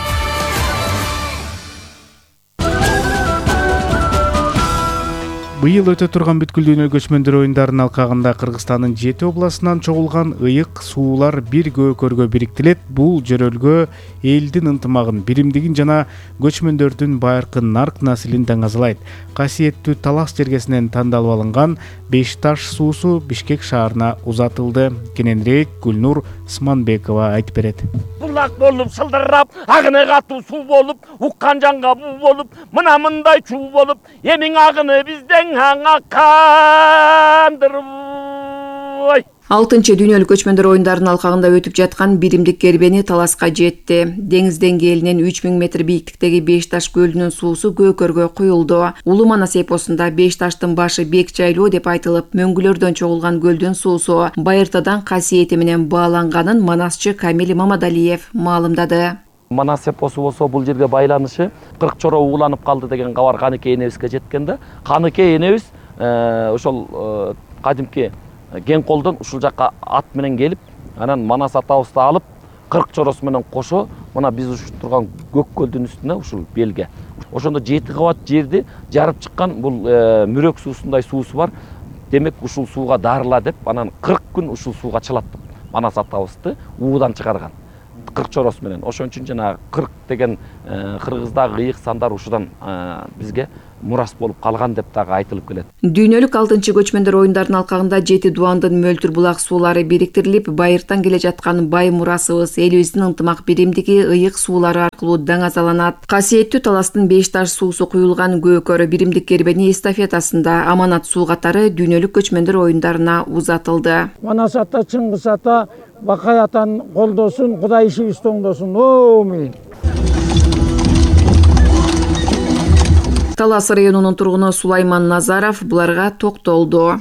Быйыл өтө турган бүткүл дүйнөлүк көчмөндөр оюндарынын алкагында Кыргызстандын 7 областынан чогулган ыйык суулар бир көкөргө бириктилет. Бул жөрөлгө элдин ынтымагын, биримдигин жана көчмөндөрдүн байыркы нарк наслин даңазалайт. Касиеттүү Талас жергесинен тандалып алынган 5 таш суусу Бишкек шаарына узатылды. Кененирээк Гүлнур Сманбекова айтып берет. Булак болуп сылдырап, агыны катуу суу болуп, уккан жанга буу болуп, мына мындай чуу болуп, эмиң агыны бизден аңаккандыр. 6 дүйнөлүк көчмөндөр оюндарынын алкагында өтүп жаткан биримдик кербени таласка жетти. Деңиз деңгээлинен 3000 метр бийиктиктеги Беш таш көлүнүн суусу көкөргө куюлду. Улуу Манас эпосунда Беш таштын башы бек жайлуу деп айтылып, мөңгүлөрдөн чогулган көлдүн суусу байыртадан касиети менен бааланганын манасчы Камил Мамадалиев маалымдады. Манас эпосу болсо бул жерге байланышы 40 чора угуланып калды деген кабар Каныкей энебизге жеткен да. Каныкей энебиз ошол кадимки кен колдон ушул жакка ат менен келип, анан Манас атабызды алып 40 чоросу менен кошо мына биз ушул турган көк көлдүн үстүнө ушул белге. Ошондо 7 кабат жерди жарып чыккан бул мүрөк суусундай суусу бар. Демек ушул сууга дарыла деп анан 40 күн ушул сууга чылаттым. Манас атабызды уудан чыгарган 40 чоросу менен. Ошон үчүн жана 40 деген кыргыздагы ыйык сандар ушудан бизге мурас болуп калган деп дагы айтылып келет. Дүйнөлүк 6 көчмөндөр оюндарынын алкагында 7 дуандын мөлтүр булак суулары бириктирилип, байыртан келе жаткан бай мурасыбыз элибиздин ынтымак биримдиги ыйык суулары аркылуу даңазаланат. Касиеттүү таластын Беш таш суусу куюлган көкөрү биримдик кербени эстафетасында аманат суу катары дүйнөлүк көчмөндөр оюндарына узатылды. Манас ата, Чыңгыз ата, Бакай атаны колдосун, Кудай ишибизди оңдосун. Амин. Талас районунун тургуну Сулайман Назаров буларга токтолду.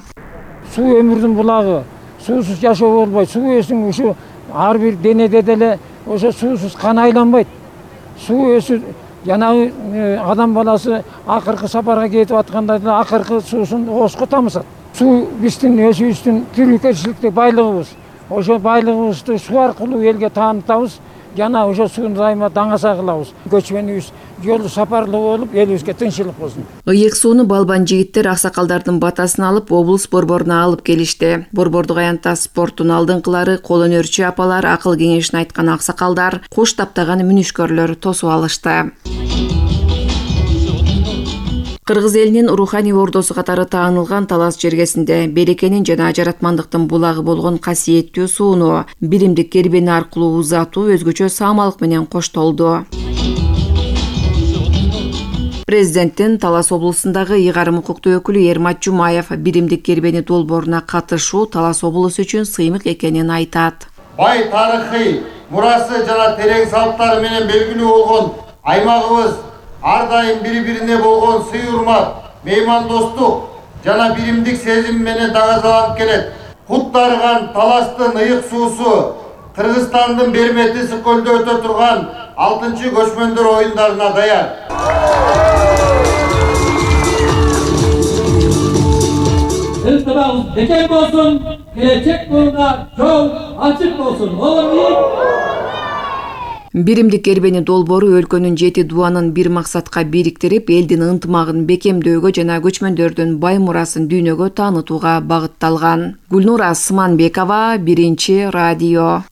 Суу өмүрдүн булагы. Суусуз жашоо болбойт. Суу эсиң ушу ар бир денеде деле ошо суусуз кан айланбайт. Суу өсү жанагы адам баласы акыркы сапарга кетип атканда деле акыркы суусун оозго тамызат. Суу биздин өзүбүздүн тирүүчүлүктүк байлыгыбыз. Ошо байлыгыбызды суу аркылуу элге таанытабыз. Жана ошо сууну дайыма даңаса кылабыз. Көчмөнүбүз жолу сапарлуу болуп, элибизге тынччылык болсун. Ыйык сууну балбан жигиттер аксакалдардын батасын алып, облус борборуна алып келишти. Борбордук аянтта спорттун алдыңкылары, кол өнөрчү апалар, акыл кеңешин айткан аксакалдар, куш таптаган мүнүшкөрлөр тосуп алышты. Кыргыз элинин руханий ордосу катары таанылган Талас жергесинде берекенин жана жаратмандыктын булагы болгон касиеттүү сууну биримдик кербени аркылуу узатуу өзгөчө саамалык менен коштолду. Президенттин Талас облусундагы ыйгарым укуктуу өкүлү Эрмат Жумаев биримдик кербени долбооруна катышуу Талас облусу үчүн сыймык экенин айтат. Бай тарыхый мурасы жана терең салттары менен белгилүү болгон аймагыбыз ар дайым бири-бирине болгон сый урмат, меймандостук жана биримдик сезим менен даңазаланып келет. Кут дарыган Таластын ыйык суусу Кыргызстандын Бермети көлдө өтө турган 6 көчмөндөр оюндарына даяр. Ылтымагыбыз бекем болсун, келечек жолуна жол ачык болсун. Биримдик кербени долбоору өлкөнүн 7 дуанын бир максатка бириктирип, элдин ынтымагын бекемдөөгө жана көчмөндөрдүн бай мурасын дүйнөгө таанытууга багытталган. Гүлнура Сыманбекова, Биринчи радио.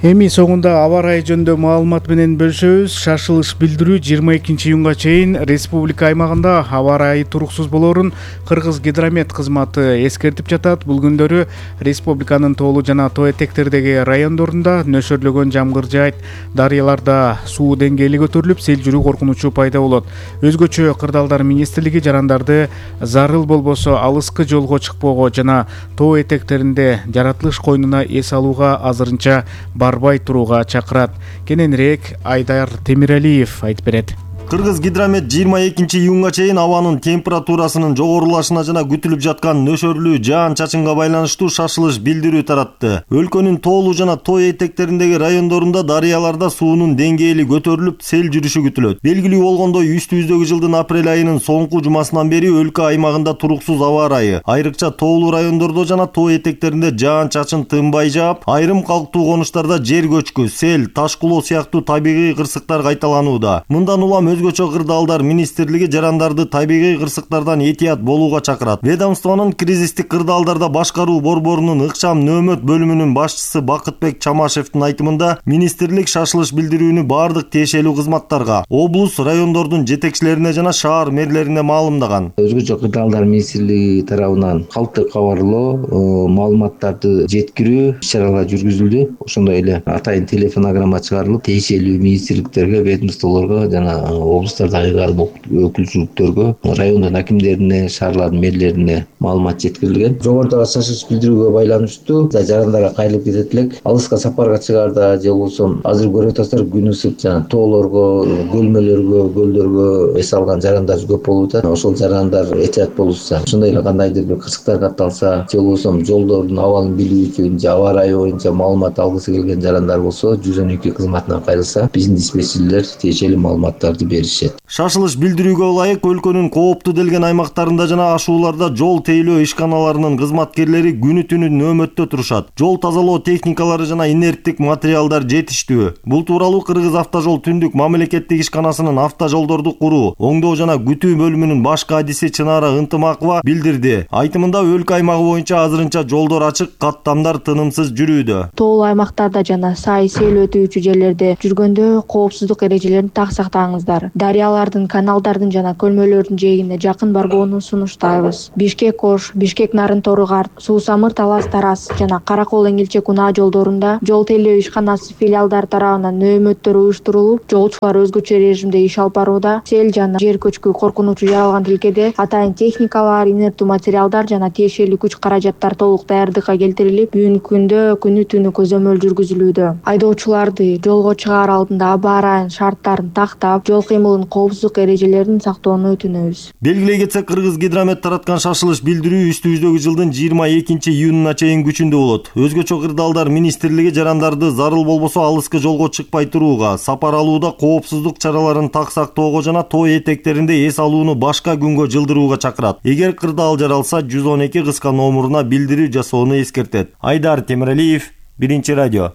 Эми соңунда аба ырайы жөнүндө маалымат менен бөлүшөбүз. Шашылыш билдирүү 22 июнга чейин республика аймагында аба ырайы туруксуз болоорун Кыргыз гидромет кызматы эскертип жатат. Бул күндөрү республиканын тоолуу жана тоо этектердеги райондорунда нөшөрлөгөн жамгыр жаайт. Дарыяларда суу деңгээли көтөрүлүп, сел жүрүү коркунучу пайда болот. Өзгөчө Кырдаалдар министрлиги жарандарды зарыл болбосо алыскы жолго чыкпоого жана тоо этектеринде жаратылыш койнуна эс алууга азырынча барбай турууга чакырат. Кененирээк Айдар Темиралиев айтып берет. Кыргыз гидромет 22 июнга чейин абанын температурасынын жогорулашына жана күтүлүп жаткан нөшөрлүү жаан-чачынга байланыштуу шашылыш билдирүү таратты. Өлкөнүн тоолуу жана тоо этектериндеги райондорунда дарыяларда суунун деңгээли көтөрүлүп, сел жүрүшү күтүлөт. Белгилүү болгондой, үстүбүздөгү жылдын апрель айынын соңку жумасынан бери өлкө аймагында туруксуз аба ырайы, айрыкча тоолуу райондордо жана тоо этектеринде жаан-чачын тынбай жаап, айрым калктуу конуштарда жер көчкү, сел, таш кулоо сыяктуу табигый кырсыктар кайталанууда. Мындан улам өзгөчө Кырдаалдар министрлиги жарандарды табигый кырсыктардан этият болууга чакырат. Ведомствонун кризистик кырдаалдарда башкаруу борборунун ыкчам нөөмөт бөлүмүнүн башчысы Бакытбек Чамашевдин айтымында, министрлик шашылыш билдирүүнү бардык тиешелүү кызматтарга, облус, райондордун жетекчилерине жана шаар мэрлерине маалымдаган. Өзгөчө Кырдаалдар министрлиги тарабынан калктуу кабарлоо, маалыматтарды жеткирүү иш-чаралар жүргүзүлдү. Ошондой эле атайын телефонограмма чыгарылып, тиешелүү министрликтерге, ведомстволорго жана облустардагы кайрылма өкүлчүлүктөргө, райондун акимдерине, шаарлардын мэрлерине маалымат жеткирилген. Жогорудагы шашылыш билдирүүгө байланыштуу жарандарга кайрылып кетет элек. Алыска сапарга чыгаарда же болбосо азыр көрүп атасыздар, күн ысык, жана тоолорго, көлмөлөргө, көлдөргө эс алган жарандар көп болуп атат. Ошол жарандар этият болушса, ошондой эле кандайдыр бир кырсыктар катталса, же болбосо жолдордун абалын билүү үчүн же аба ырайы боюнча маалымат алгысы келген жарандар болсо, 112 кызматына кайрылса, биздин диспетчерлер тиешелүү маалыматтарды беришет. Шашылыш билдирүүгө ылайык өлкөнүн кооптуу делген аймактарында жана ашууларда жол тейлөө ишканаларынын кызматкерлери күнү түнү нөөмөттө турушат. Жол тазалоо техникалары жана инерттик материалдар жетиштүү. Бул тууралуу Кыргыз автожол түндүк мамлекеттик ишканасынын автожолдорду куруу, оңдоо жана күтүү бөлүмүнүн баш кадиси Чынара Ынтымакова билдирди. Айтымында өлкө аймагы боюнча азырынча жолдор ачык, каттамдар тынымсыз жүрүүдө. Тоолуу аймактарда жана сай сел өтүүчү жерлерде жүргөндө коопсуздук эрежелерин так сактаңыздар. Дарыялардын, каналдардын жана көлмөлөрдүн жээгине жакын барбоону сунуштайбыз. Бишкек-Ош, Бишкек-Нарын-Торыгар, Суу-Самыр-Талас-Тарас жана Каракол-Эңилче-Кунаа жолдорунда жол тейлөө ишканасы филиалдары тарабынан нөөмөттөр уюштурулуп, жолчулар өзгөчө режимде иш алып барууда. Сел жана жер көчкү коркунучу жаралган тилкеде атайын техникалар, инерттүү материалдар жана тиешелүү күч каражаттар толук даярдыкка келтирилип, бүгүнкү күндө күнү түнү көзөмөл жүргүзүлүүдө. Айдоочуларды жолго чыгаар алдында аба ырайынын шарттарын тактап, жол кыймылынын коопсуздук эрежелерин сактоону өтүнөбүз. Белгилей кетсек, Кыргыз Гидромет тараткан шашылыш билдирүү үстүбүздөгү жылдын 22-июнуна чейин күчүндө болот. Өзгөчө кырдаалдар министрлиги жарандарды зарыл болбосо алыска жолго чыкпай турууга, сапар алууда коопсуздук чараларын так сактоого жана тоо этектеринде эс алууну башка күнгө жылдырууга чакырат. Эгер кырдаал жаралса, 112 кыска номуруна билдирүү жасоону эскертет. Айдар Темиралиев, Биринчи радио.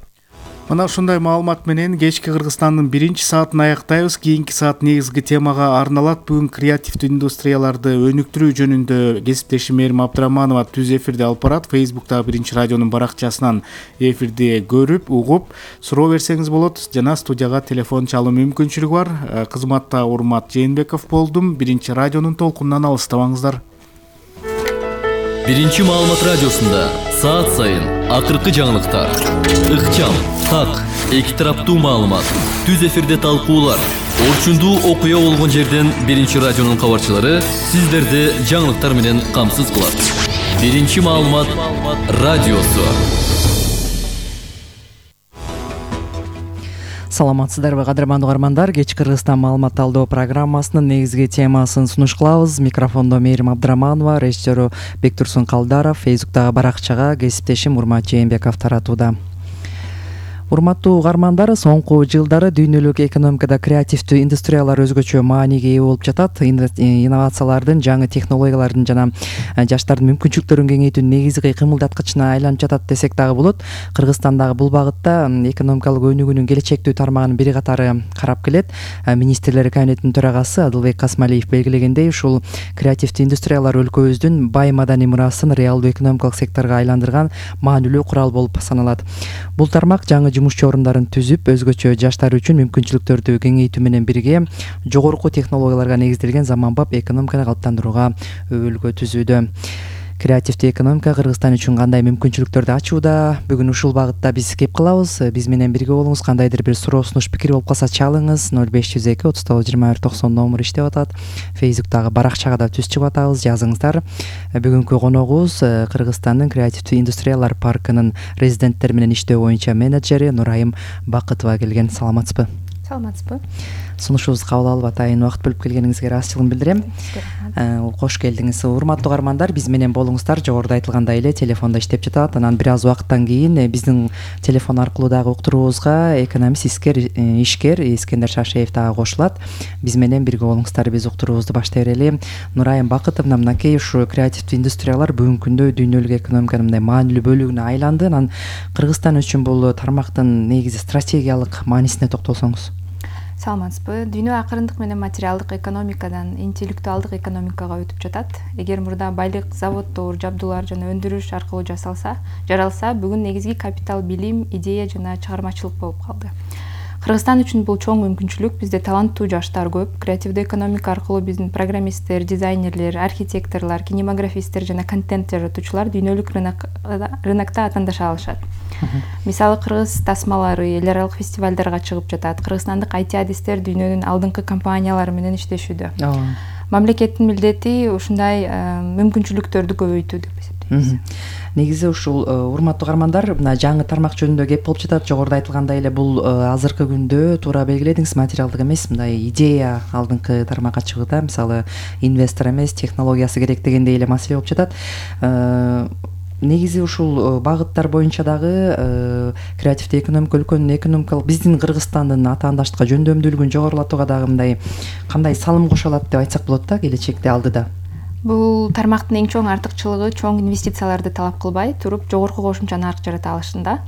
Мына ушундай маалымат менен кечки Кыргызстандын 1-саатын аяктайбыз. Кийинки саат негизги темага арналат. Бүгүн креативдүү индустрияларды өнүктүрүү жөнүндө кесиптешим Мээрим Абдыраманова түз эфирде алып барат. Фейсбуктагы Биринчи радионун баракчасынан эфирди көрүп, угуп, суроо берсеңиз болот жана студияга телефон чалуу мүмкүнчүлүгү бар. Кызматта Урмат Жээнбеков болдум. Биринчи радионун толкунунан алыстабаңыздар. Биринчи маалымат радиосунда саат сайын акыркы жаңылыктар, ыкчам, так, эки тараптуу маалымат, түз эфирде талкуулар, орчундуу окуя болгон жерден Биринчи радионун кабарчылары сиздерди жаңылыктар менен камсыз кылат. Биринчи маалымат радиосу. Саламатсыздарбы, кадырмандуу угармандар. Кечки Кыргызстан маалымат талдоо программасынын негизги темасын сунуш кылабыз. Микрофондо Мээрим Абдыраманова, режиссеру Бектурсун Калдаров, Фейсбуктагы баракчага кесиптешим Урмат Жээнбеков таратууда. Урматтуу угармандар, соңку жылдары дүйнөлүк экономикада креативдүү индустриялар өзгөчө мааниге ээ болуп жатат. Инновациялардын, жаңы технологиялардын жана жаштардын мүмкүнчүлүктөрүн кеңейтүүнүн негизги кыймылдаткычына айланып жатат десек дагы болот. Кыргызстандагы бул багытта экономикалык өнүгүүнүн келечектүү тармагынын бири катары карап келет. Министрлер кабинетинин төрагасы Адылбек Касмалиев белгилегендей, ушул креативдүү индустриялар өлкөбүздүн бай маданий мурасын реалдуу экономикалык секторго айландырган маанилүү курал болуп саналат. Бул тармак жаңы жумушчу орундарын түзүп, өзгөчө жаштар үчүн мүмкүнчүлүктөрдү кеңейтүү менен бирге жогорку технологияларга негизделген заманбап экономиканы калыптандырууга өбөлгө түзүүдө. Креативдүү экономика Кыргызстан үчүн кандай мүмкүнчүлүктөрдү ачууда? Бүгүн ушул багытта биз кеп калабыз. Биз менен бирге болуңуз. Кандайдыр бир суроо, сунуш, пикир болуп калса чалыңыз. 0502 39 21 90 номер иштеп атат. Фейсбуктагы баракчага да түз чыгып атабыз. Жазыңыздар. Бүгүнкү коногубуз Кыргызстандын креативдүү индустриялар паркынын резиденттер менен иштөө боюнча менеджери Нурайым Бакытова келген. Саламатсызбы? Саламатсызбы. Сунушубузду кабыл алып атайын убакыт бөлүп келгениңизге ыраазычылыгымды билдирем. Кош келдиңиз. Урматтуу угармандар, биз менен болуңуздар. Жогоруда айтылгандай эле телефонда иштеп жатат. Анан бир аз убакыттан кийин биздин телефон аркылуу дагы уктуруубузга экономист, ишкер Искендер Шашеев дагы кошулат. Биз менен бирге болуңуздар. Биз уктуруубузду баштай берели. Нурайым Бакытовна, мынакей ушу креативдүү индустриялар бүгүнкү күндө дүйнөлүк экономиканын мындай маанилүү бөлүгүнө айланды. Анан Кыргызстан үчүн бул тармактын негизи стратегиялык маанисине токтолсоңуз. Саламатсызбы. Дүйнө акырындык менен материалдык экономикадан интеллектуалдык экономикага өтүп жатат. Эгер мурда байлык, заводдор, жабдуулар жана өндүрүш аркылуу жаралса, бүгүн негизги капитал билим, идея жана чыгармачылык болуп калды. Кыргызстан үчүн бул чоң мүмкүнчүлүк. Бизде таланттуу жаштар көп. Креативдүү экономика аркылуу биздин программисттер, дизайнерлер, архитекторлор, кинематографисттер жана контент жаратуучулар дүйнөлүк рынокто атандаша алышат. Мисалы кыргыз тасмалары эл аралык фестивалдарга чыгып жатат. Кыргызстандык IT адистер дүйнөнүн алдыңкы компаниялары менен иштешүүдө. Мамлекеттин милдети ушундай мүмкүнчүлүктөрдү көбөйтүү деп эсептейбиз. Негизи ушул урматтуу угармандар, мына жаңы тармак жөнүндө кеп болуп жатат. Жогоруда айтылгандай эле бул азыркы күндө туура белгиледиңиз, материалдык эмес, мындай идея алдыңкы тармакка чыгууда, мисалы инвестор эмес, технологиясы керек дегендей эле маселе болуп жатат. Негизи ушул багыттар боюнча дагы креативдүү экономика, өлкөнүн экономикалык, биздин Кыргызстандын атаандаштыкка, жөндөмдүүлүгүн жогорулатууга дагы мындай кандай салым кошо алат деп айтсак болот да, келечекте алдыда. Бул тармактын эң чоң артыкчылыгы чоң инвестицияларды талап кылбай туруп жогорку кошумча нарк жарата алышында.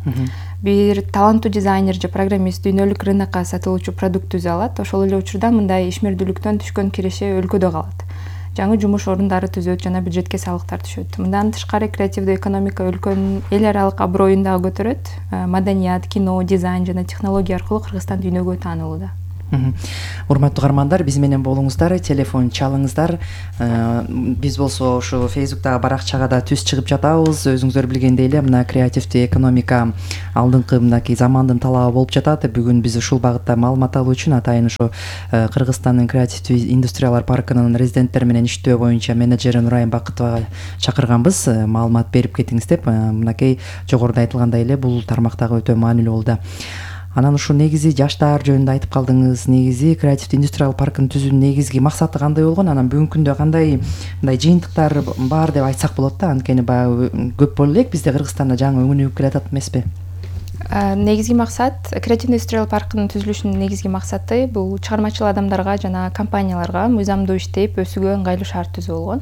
Бир таланттуу дизайнер же программист дүйнөлүк рынокко сатылуучу продукт түзө алат. Ошол эле учурда мындай ишмердүүлүктөн түшкөн киреше өлкөдө калат. Жаңы жумуш орундары түзөт жана бюджетке салыктар түшөт. Мындан тышкары креативдүү экономика өлкөнүн эл аралык аброюн дагы көтөрөт. Маданият, кино, дизайн жана технология аркылуу Кыргызстан дүйнөгө таанылууда. Урматтуу угармандар, биз менен болуңуздар, телефон чалыңыздар. Биз болсо ушу Facebook'тагы баракчага да түз чыгып жатабыз. Өзүңүздөр билгендей эле мына креативдүү экономика алдыңкы мынакей замандын талабы болуп жатат. Бүгүн биз ушул багытта маалымат алуу үчүн атайын ушу Кыргызстандын креативдүү индустриялар паркынын резиденттери менен иштөө боюнча менеджери Нурайым Бакытовага чакырганбыз. Маалымат берип кетиңиз деп. Мынакей жогоруда айтылгандай эле бул тармактагы өтө маанилүү болду. Анан ушул негизи жаштар жөнүндө айтып калдыңыз. Негизи креативдүү индустриал паркын түзүүнүн негизги максаты кандай болгон? Анан бүгүнкү күндө кандай мындай жыйынтыктар бар деп айтсак болот да? Анткени баягы көп боло элек бизде Кыргызстанда жаңы өнүгүп келатат эмеспи? Негизги максат, креативдүү индустриал паркынын түзүлүшүнүн негизги максаты бул чыгармачыл адамдарга жана компанияларга мыйзамдуу иштеп өсүүгө ыңгайлуу шарт түзүү болгон.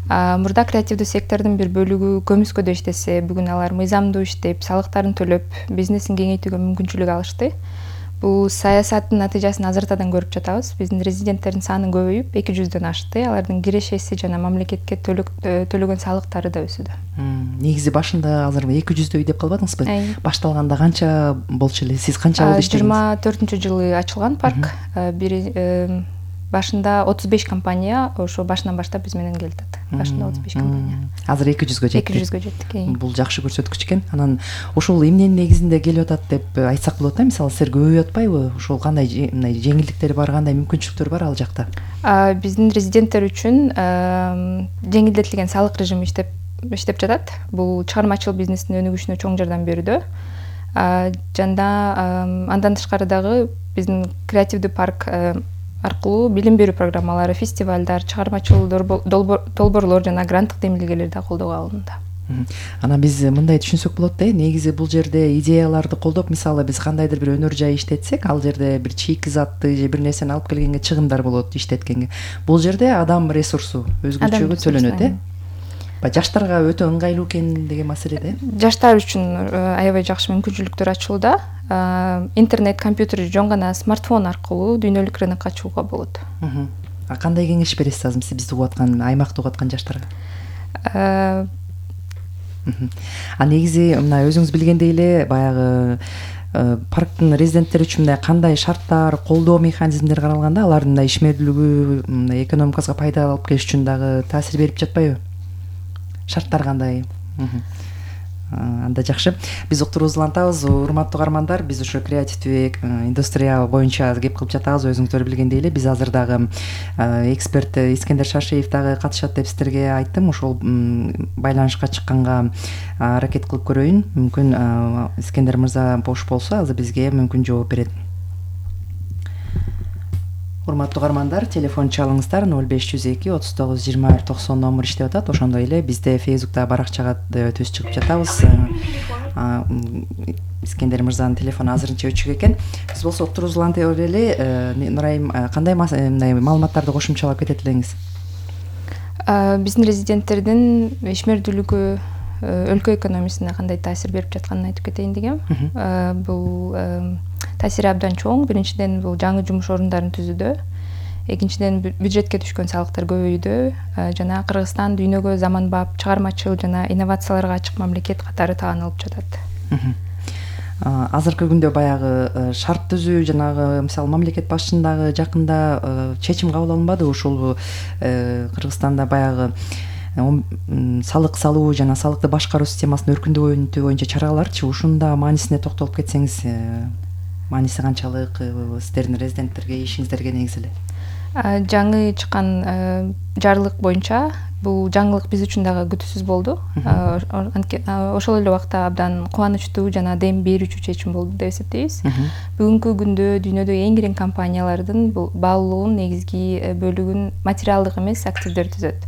Мурда креативдүү сектордун бир бөлүгү көмүскөдө иштесе, бүгүн алар мыйзамдуу иштеп, салыктарын төлөп, бизнесин кеңейтүүгө мүмкүнчүлүк алышты. Бул саясаттын натыйжасын азыртадан көрүп жатабыз. Биздин резиденттердин саны көбөйүп, 200дөн ашты. Алардын кирешеси жана мамлекетке төлөгөн салыктары да өсүүдө. Негизи башында азыр 200дөй деп калбадыңызбы? Башталганда канча болчу эле? Сиз канча жыл иштедиңиз? 24-жылы ачылган парк. Башында 35 компания ошо башынан баштап биз менен келатат. Башында 35 компания. Азыр 200гө жетти. 200гө жеттик. Бул жакшы көрсөткүч экен. Анан ушул эмненин негизинде келип атат деп айтсак болот да? Мисалы силер көбөйүп атпайбы? Ушул кандай жеңилдиктери бар, кандай мүмкүнчүлүктөр бар ал жакта? Биздин резиденттер үчүн жеңилдетилген салык режими иштеп жатат. Бул чыгармачыл бизнестин өнүгүшүнө чоң жардам берүүдө. Жана андан тышкары дагы биздин креативдүү парк аркылуу билим берүү программалары, фестивалдар, чыгармачыл долбоорлор жана гранттык демилгелер да колдоого алынды. Анан биз мындай түшүнсөк болот да, негизи бул жерде идеяларды колдоп, мисалы биз кандайдыр бир өнөр жай иштетсек, ал жерде бир чийки затты же бир нерсени алып келгенге чыгымдар болот иштеткенге. Бул жерде адам ресурсу өзгөчөгө төлөнөт, жаштарга өтө ыңгайлуу экен деген маселеде. Жаштар үчүн аябай жакшы мүмкүнчүлүктөр ачууда. Интернет, компьютер жөн гана смартфон аркылуу дүйнөлүк рынокко чыгууга болот. Кандай кеңеш бересиз азыр бизди угуп аткан, аймакты угуп аткан жаштарга? Негизи мына өзүңүз билгендей эле баягы парктын резиденттери үчүн мындай кандай шарттар, колдоо механизмдери каралганда, алардын мындай ишмердүүлүгү, мындай экономикасына пайда алып келиш үчүн дагы таасир берип жатпайбы? Шарттар кандай? Анда жакшы. Биз уктуруубузду улантабыз. Урматтуу угармандар, биз ушу креативдүү индустрия боюнча кеп кылып жатабыз. Өзүңүздөр билгендей эле биз азыр дагы эксперт Искендер Шашиев дагы катышат деп сиздерге айттым. Ошол байланышка чыкканга аракет кылып көрөйүн. Мүмкүн Искендер мырза бош болсо азыр бизге мүмкүн жооп берет. Урматтуу угармандар, телефон чалыңыздар 0502 39 21 90 номер иштеп атат. Ошондой эле бизде Facebook'та баракчага түз чыгып жатабыз. Искендер мырзанын телефону азырынча өчүк экен. Биз болсо уктуруубузду улантып эле, Нурайым, кандай мындай маалыматтарды кошумчалап кетет элеңиз? Биздин резиденттердин ишмердүүлүгү өлкө экономикасына кандай таасир берип жатканын айтып кетейин дегем. Бул таасири абдан чоң. Биринчиден бул жаңы жумуш орундарын түзүүдө, экинчиден бюджетке түшкөн салыктар көбөйүүдө жана Кыргызстан дүйнөгө заманбап, чыгармачыл жана инновацияларга ачык мамлекет катары таанылып жатат. азыркы күндө баягы шарт түзүү жанагы мисалы мамлекет башчынын дагы жакында чечим кабыл алынбады ушул Кыргызстанда баягы салык салуу жана салыкты башкаруу системасын өркүндөтүү боюнча чараларчы ушунун да маанисине токтолуп кетсеңиз, мааниси канчалык сиздердин резиденттерге ишиңиздерге негизи эле? Жаңы чыккан жарлык боюнча бул жаңылык биз үчүн дагы күтүүсүз болду. Ошол эле убакта абдан кубанычтуу жана дем берүүчү чечим болду деп эсептейбиз. Бүгүнкү күндө дүйнөдөгү эң киң компаниялардын бул баалуулугунун негизги бөлүгүн материалдык эмес активдер түзөт.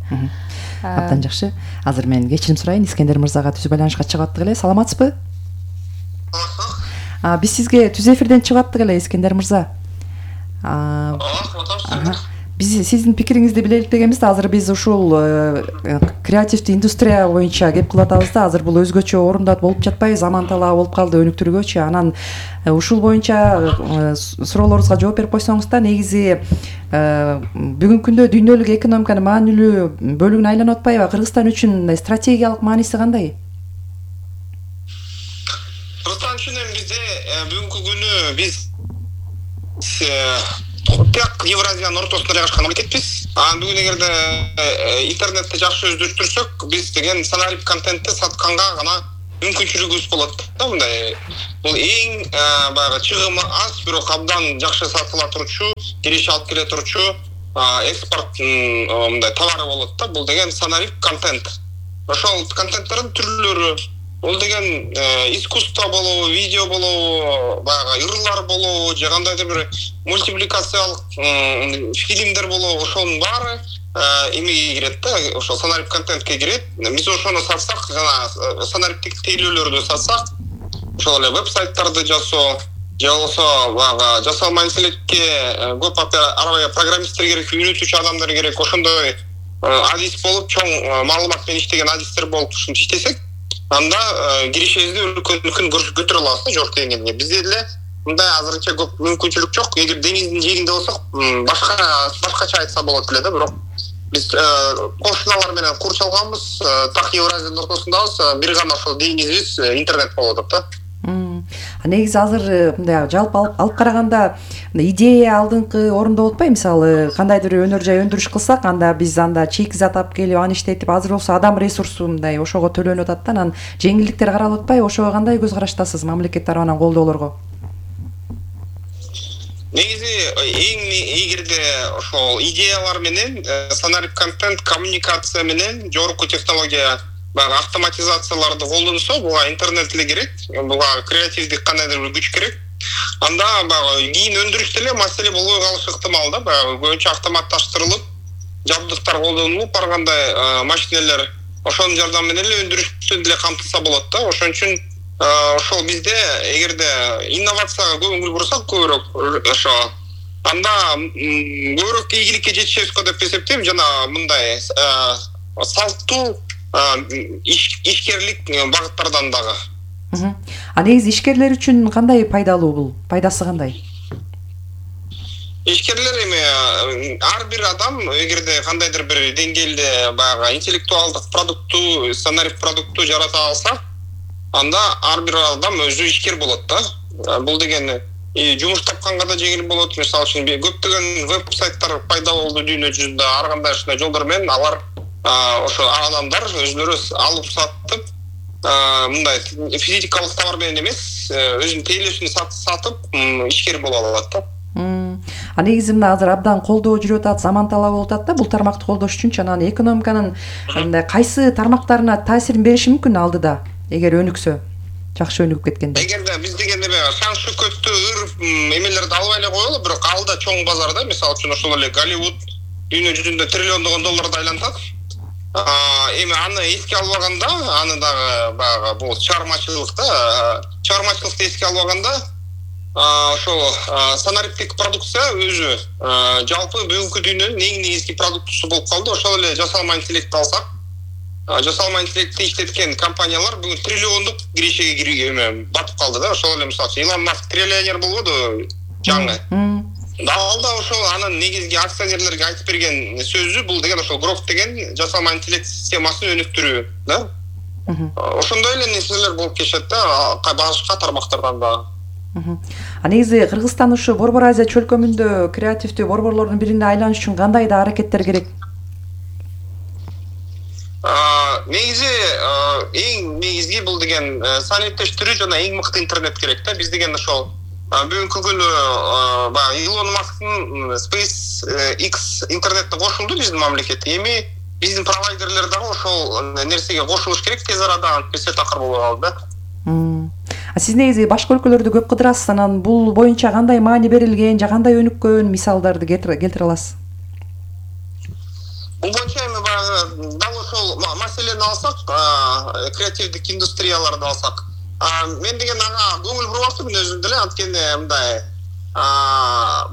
Абдан жакшы. Азыр мен кечирим сурайын, Искендер мырзага түзүү байланышка чыгып аттык эле. Саламатсызбы? Биз сизге түз эфирден чыгып аттык эле, Искендер мырза. Биз сиздин пикириңизди билелик дегенбиз да, азыр биз ушул креативдүү индустрия боюнча кеп кылып атабыз да, азыр бул өзгөчө орунда болуп жатпайбы, заман талабы болуп калды өнүктүрүүгөчү. Анан ушул боюнча суроолорубузга жооп берип койсоңуз да, негизи бүгүнкү күндө дүйнөлүк экономиканын маанилүү бөлүгүнө айланып атпайбы? Кыргызстан үчүн стратегиялык мааниси кандай? Кыргызстан үчүн эми бизде бүгүнкү күнү биз так Евразиянын ортосунда жайгашкан мамлекетпиз. Бүгүн эгерде интернетти жакшы өздөртүрсөк, биз деген санарип контентти сатканга гана мүмкүнчүлүгүбүз болот да. Мындай бул эң баягы чыгымы аз, бирок абдан жакшы сатыла турчу, кириш алып келе турчу экспорттун мындай товары болот да. Бул деген санарип контент. Ошол контенттердин түрлөрү, бул деген искусство болобу, видео болобу, баягы ырлар болобу, же кандайдыр бир мультипликациялык фильмдер болобу, ошонун баары эмеге кирет да, ошол санарип контентке кирет. Биз ошону сатсак, жана санариптик тейлөөлөрдү сатсак, ошол эле веб-сайттарды жасоо, же болбосо баягы жасалма интеллектке көп арабай программисттер керек, үйрөтүүчү адамдар керек, ошондой адис болуп, чоң маалымат менен иштеген адистер болуп ушинтип иштесек, анда киришибизди үлкөн көтөрө алабыз да, жогорку деңгээлге. Бизде деле мындай азырынча көп мүмкүнчүлүк жок. Эгер деңиздин жээгинде болсок, башкача айтса болот эле да, бирок биз кошуналар менен курчалганбыз, так Евразиянын ортосундабыз, бир гана ошол деңизибиз интернет болуп атат да. Негизи азыр мындай жалпы алып караганда идея алдыңкы орунда болуп атпайбы? Мисалы кандайдыр бир өнөр жай өндүрүш кылсак, анда биз анда чийки зат алып келип аны иштетип, азыр болсо адам ресурсу мындай ошого төлөнүп атат да, анан жеңилдиктер каралып атпайбы? Ошого кандай көз караштасыз мамлекет тарабынан колдоолорго? Негизи эң эгерде ошол идеялар менен санарип контент, коммуникация менен жогорку технология, баягы автоматизацияларды колдонсо, буга интернет эле керек, буга креативдик кандайдыр бир күч керек. Анда баягы кийин өндүрүштө эле маселе болбой калышы ыктымал да, баягы көбүнчө автоматташтырылып, жабдыктар колдонулуп баргандай машинелер ошонун жардамы менен эле өндүрүштү деле камтылса болот да. Ошон үчүн ошол бизде эгерде инновацияга көңүл бурсак, көбүрөөк ошо анда көбүрөөк ийгиликке жетишебиз деп эсептейм. Жана мындай салттуу ишкерлик багыттардан дагы. Негизи ишкерлер үчүн кандай пайдалуу бул? Пайдасы кандай? Ишкерлер эми ар бир адам эгерде кандайдыр бир деңгээлде баягы интеллектуалдык продукту, санарип продукту жарата алса, анда ар бир адам өзү ишкер болот да. Бул деген жумуш тапканга да жеңил болот. Мисалы үчүн көптөгөн веб-сайттар пайда болду дүйнө жүзүндө. Ар кандай ушундай жолдор менен алар ошо адамдар өзүлөрү алып сатып, мындай физикалык товар менен эмес, өзүнүн тейлөөсүн сатып ишкер боло алат да. Негизи мына азыр абдан колдоо жүрүп атат, заман талабы болуп атат да, бул тармакты колдош үчүнчү. Анан экономиканын мындай кайсы тармактарына таасирин бериши мүмкүн алдыда, эгер өнүксө, жакшы өнүгүп кеткенде? Эгерде биз дегенде шаң шөкөттүү эмелерди албай эле коелу, бирок алда чоң базар да. Мисалы үчүн ошол эле Голливуд дүйнө жүзүндө триллиондогон долларды айлантат. Эми аны эске албаганда, аны дагы баягы бул чыгармачылыкты эске албаганда, ошол санариптик продукция өзү жалпы бүгүнкү дүйнөнүн эң негизги продуктусу болуп калды. Ошол эле жасалма интеллектти алсак, жасалма интеллектти иштеткен компаниялар бүгүн триллиондук киришеге батып калды да. Ошол эле мисалы Илон Маск триллионер болбоду жаңы. Далда ошол анын негизги акционерлерге айтып берген сөзү бул деген ошол Грок деген жасалма интеллект системасын өнүктүрүү да. ошондой эле нерселер болуп келишет да башка тармактардан дагы. Негизи Кыргызстан ушу Борбор Азия чөлкөмүндө креативдүү борборлордун бирине айланыш үчүн кандай да аракеттер керек? Негизи эң негизги бул деген саниттештирүү жана эң мыкты интернет керек да. Биз деген ошол бүгүнкү күнү баягы Илон Масктын SpaceX интернетте кошулду биздин мамлекет. Эми биздин провайдерлер дагы ошол нерсеге кошулуш керек тез арада, антпесе такыр болуп калды да. Сиз негизи башка өлкөлөрдү көп кыдырасыз, анан бул боюнча кандай маани берилген, же кандай өнүккөн мисалдарды келтире аласыз? Бул боюнча эми баягы дал ошол маселени алсак, креативдик индустрияларды алсак, мен деген ага көңүл бурбаптырмын өзүм деле, анткени мындай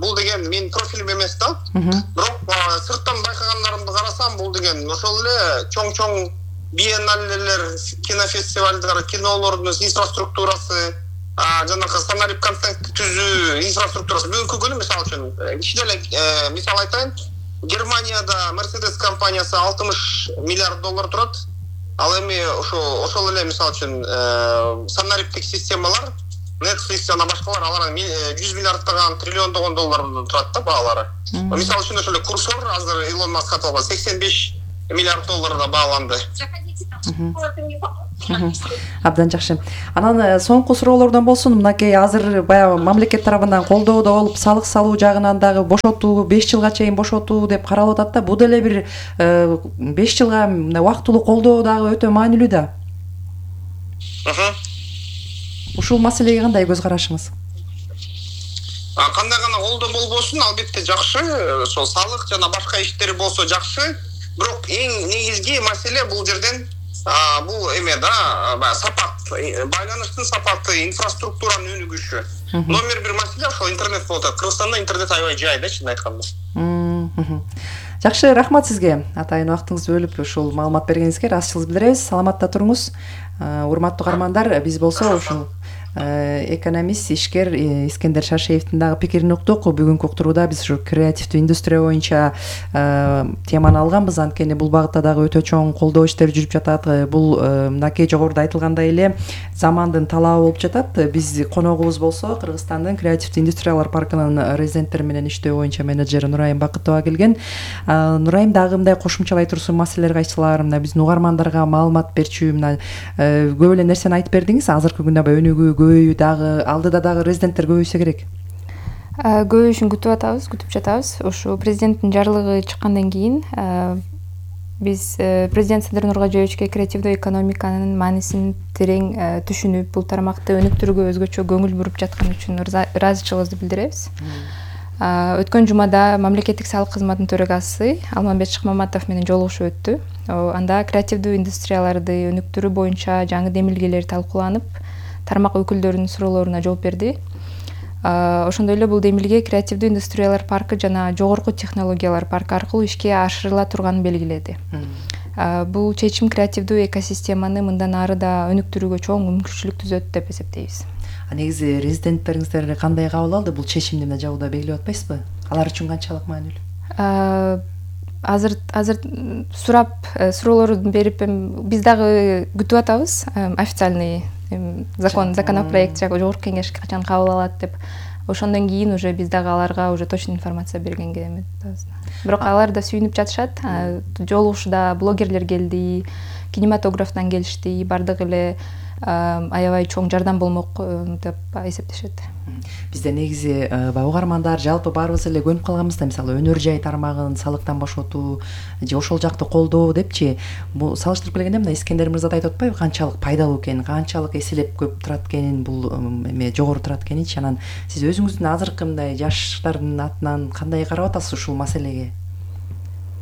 бул деген менин профилим эмес да. Бирок сырттан байкагандарымды карасам, бул деген ошол эле чоң биенналелер, кинофестивалдар, кинолордун инфраструктурасы, жанагы сценарий контент түзүү инфраструктурасы. Бүгүнкү күнү мисалы үчүн кичине эле мисал айтайын, Германияда Mercedes компаниясы 60 миллиард доллар турат. Ал эми ошол эле мисалы үчүн сценариптик системалар, Netflix жана башкалар алар 100 миллиарддаган, триллиондогон доллардан турат да баалары. Мисалы үчүн ошол эле Курсор азыр Илон Маск сатып алган 85 миллиард долларга бааланды. Абдан жакшы. Анан соңку суроолордон болсун, мынакей азыр баягы мамлекет тарабынан колдоодо болуп, салык салуу жагынан дагы бошотуу, 5 жылга чейин бошотуу деп каралып атат да. Бул деле бир 5 жылга убактылуу колдоо дагы өтө маанилүү да. Ушул маселеге кандай көз карашыңыз? Кандай гана колдоо болбосун, албетте жакшы. Ошол салык жана башка иштери болсо жакшы. Бирок эң негизги маселе бул жерден бул эме да, сапат, байланыштын сапаты, инфраструктуранын өнүгүшү. Номер 1 маселе ошол интернет болот. Кыргызстанда интернет аябай жай да, чын айтканда. Жакшы, рахмат сизге. Атайын убактыңызды бөлүп ушул маалымат бергениңизге ыраазычылык билдиребиз. Саламатта туруңуз. Урматтуу каармандар, биз болсо ушул экономист, ишкер Искендер Шаршеевдин дагы пикирин уктук. Бүгүнкү уктурууда биз ушу креативдүү индустрия боюнча теманы алганбыз. Анткени бул багытта дагы өтө чоң колдоо иштери жүрүп жатат. Бул мынакей жогоруда айтылгандай эле замандын талабы болуп жатат. Биз коногубуз болсо Кыргызстандын креативдүү индустриялар паркынын резиденттери менен иштөө боюнча менеджери Нурайым Бакытова келген. Нурайым дагы мындай кошумчалай турсун маселелер кайсылар, мына биздин угармандарга маалымат берчү, мына көп эле нерсени айтып бердиңиз. Азыркы күндө өнүгүү көбөйүү дагы, алдыда дагы резиденттер көбөйсө керек. Көбөйүшүн күтүп жатабыз. Ушу президенттин жарлыгы чыккандан кийин биз президент Садыр Нуркожоевичке креативдүү экономиканын маанисин терең түшүнүп, бул тармакты өнүктүрүүгө өзгөчө көңүл буруп жатканы үчүн ыраазычылыгыбызды билдиребиз. Өткөн жумада мамлекеттик салык кызматынын төрагасы Алмамбет Шыкмаматов менен жолугушуу өттү. Анда креативдүү индустрияларды өнүктүрүү боюнча жаңы демилгелер талкууланып, тармак өкүлдөрүнүн суроолоруна жооп берди. Ошондой эле бул демилге креативдүү индустриялар паркы жана жогорку технологиялар паркы аркылуу ишке ашырыла турганын белгиледи. Бул чечим креативдүү экосистеманы мындан ары да өнүктүрүүгө чоң мүмкүнчүлүк түзөт деп эсептейбиз. Негизи резиденттериңиздер кандай кабыл алды? Бул чечимди мына жабыда белгилеп атпайсызбы? Алар үчүн канчалык маанилүү? Азыр суроолорун берип, биз дагы күтүп атабыз. Официальный законопроект жогорку кеңеш качан кабыл алат деп. Ошондон кийин уже биз дагы аларга уже точный информация бергенге эметпиз. Бирок алар да сүйүнүп жатышат. Жолугушууда блогерлер келди, кинематографтан келишти, бардык эле аябай чоң жардам болмок деп эсептешет. Бизде негизи угармандар жалпы баарыбыз эле көнүп калганбыз да, мисалы өнөр жай тармагын салыктан бошотуу же ошол жакты колдоо депчи. Бул салыштырып келгенде мына Искендер мырза да айтып атпайбы, канчалык пайдалуу экенин, канчалык эселеп көп турат экенин, бул эме жогору турат экенинчи. Анан сиз өзүңүздүн азыркы мындай жаштардын атынан кандай карап атасыз ушул маселеге?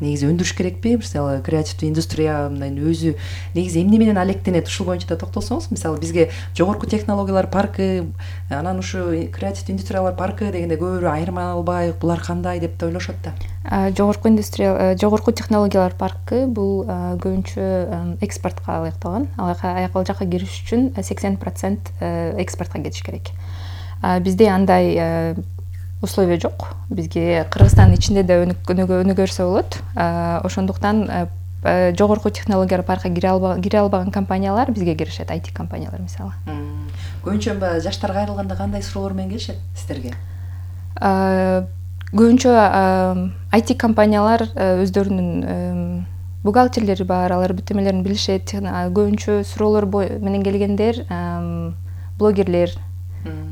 Негизи өндүрүш керекпи? Мисалы креативдүү индустрия мындай өзү негизи эмне менен алектенет? Ушул боюнча да токтолсоңуз. Мисалы бизге жогорку технологиялар паркы, анан ушу креативдүү индустриялар паркы дегенде көбүрөөк айырмалай албай, булар кандай деп ойлошот да. Жогорку технологиялар паркы бул көбүнчө экспортко ылайыкталган. Ал жака кириш үчүн 80% экспортко кетиш керек. Бизде андай условия жок. Бизге Кыргызстандын ичинде да өнүгө берсе болот. Ошондуктан жогорку технологиялар паркка кире албаган компаниялар бизге киришет, IT компаниялар мисалы. Көбүнчө жаштарга айрылганда кандай суроолор менен келишет сиздерге? Көбүнчө IT компаниялар өздөрүнүн бухгалтерлери бар, алар бүтөмөлөрүн билишет. Көбүнчө суроолор менен келгендер блогерлер.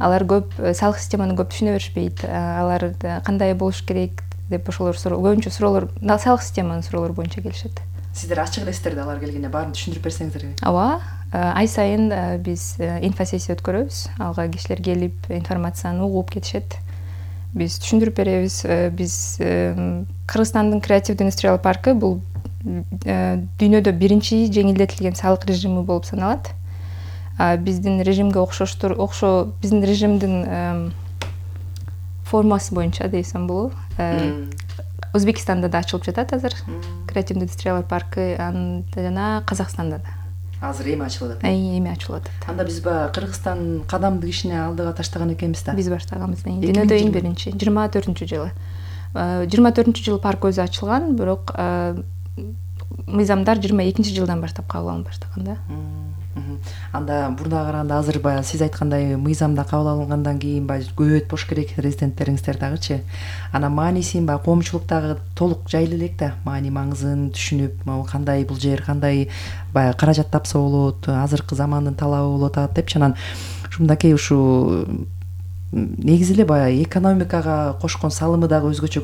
Алар көп салык системаны көп түшүнө беришпейт. Алар кандай болуш керек деп ошолор көбүнчө суроолор салык системанын суроолор боюнча келишет. Сиздер ачык элесиздер да алар келгенде баарын түшүндүрүп берсеңиздерби? Ооба, ай сайын биз инфосессия өткөрөбүз. Алга кишилер келип информацияны угуп кетишет. Биз түшүндүрүп беребиз. Биз Кыргызстандын креативдүү индустриал паркы бул дүйнөдө биринчи жеңилдетилген салык режими болуп саналат. Биздин режимге биздин режимдин формасы боюнча дейсем болобу. Өзбекстанда да ачылып жатат азыр креативдүү индустриалар паркы, жана Казакстанда да. Азыр эми ачылып атат. Эми ачылып атат. Анда биз Кыргызстан кадамдык ишине алдыга таштаган экенбиз да. Биз баштаганбыз. Дүйнөдө эң биринчи 24-жылы. 24-жылы парк өзү ачылган, бирок мыйзамдар 22-жылдан баштап кабыл алына баштаган да. Анда бурдага караганда азыр баягы сиз айткандай мыйзамда кабыл алынгандан кийин көбөйт болуш керек резиденттериңиздер дагычы. Анан маанисин коомчулук дагы толук жайлы элек да, маани маңызын түшүнүп, кандай бул жер, кандай баягы каражат тапса болот, азыркы замандын талабы болуп атат депчи. Анан ушундакей ушу негизи эле баягы экономикага кошкон салымы дагы өзгөчө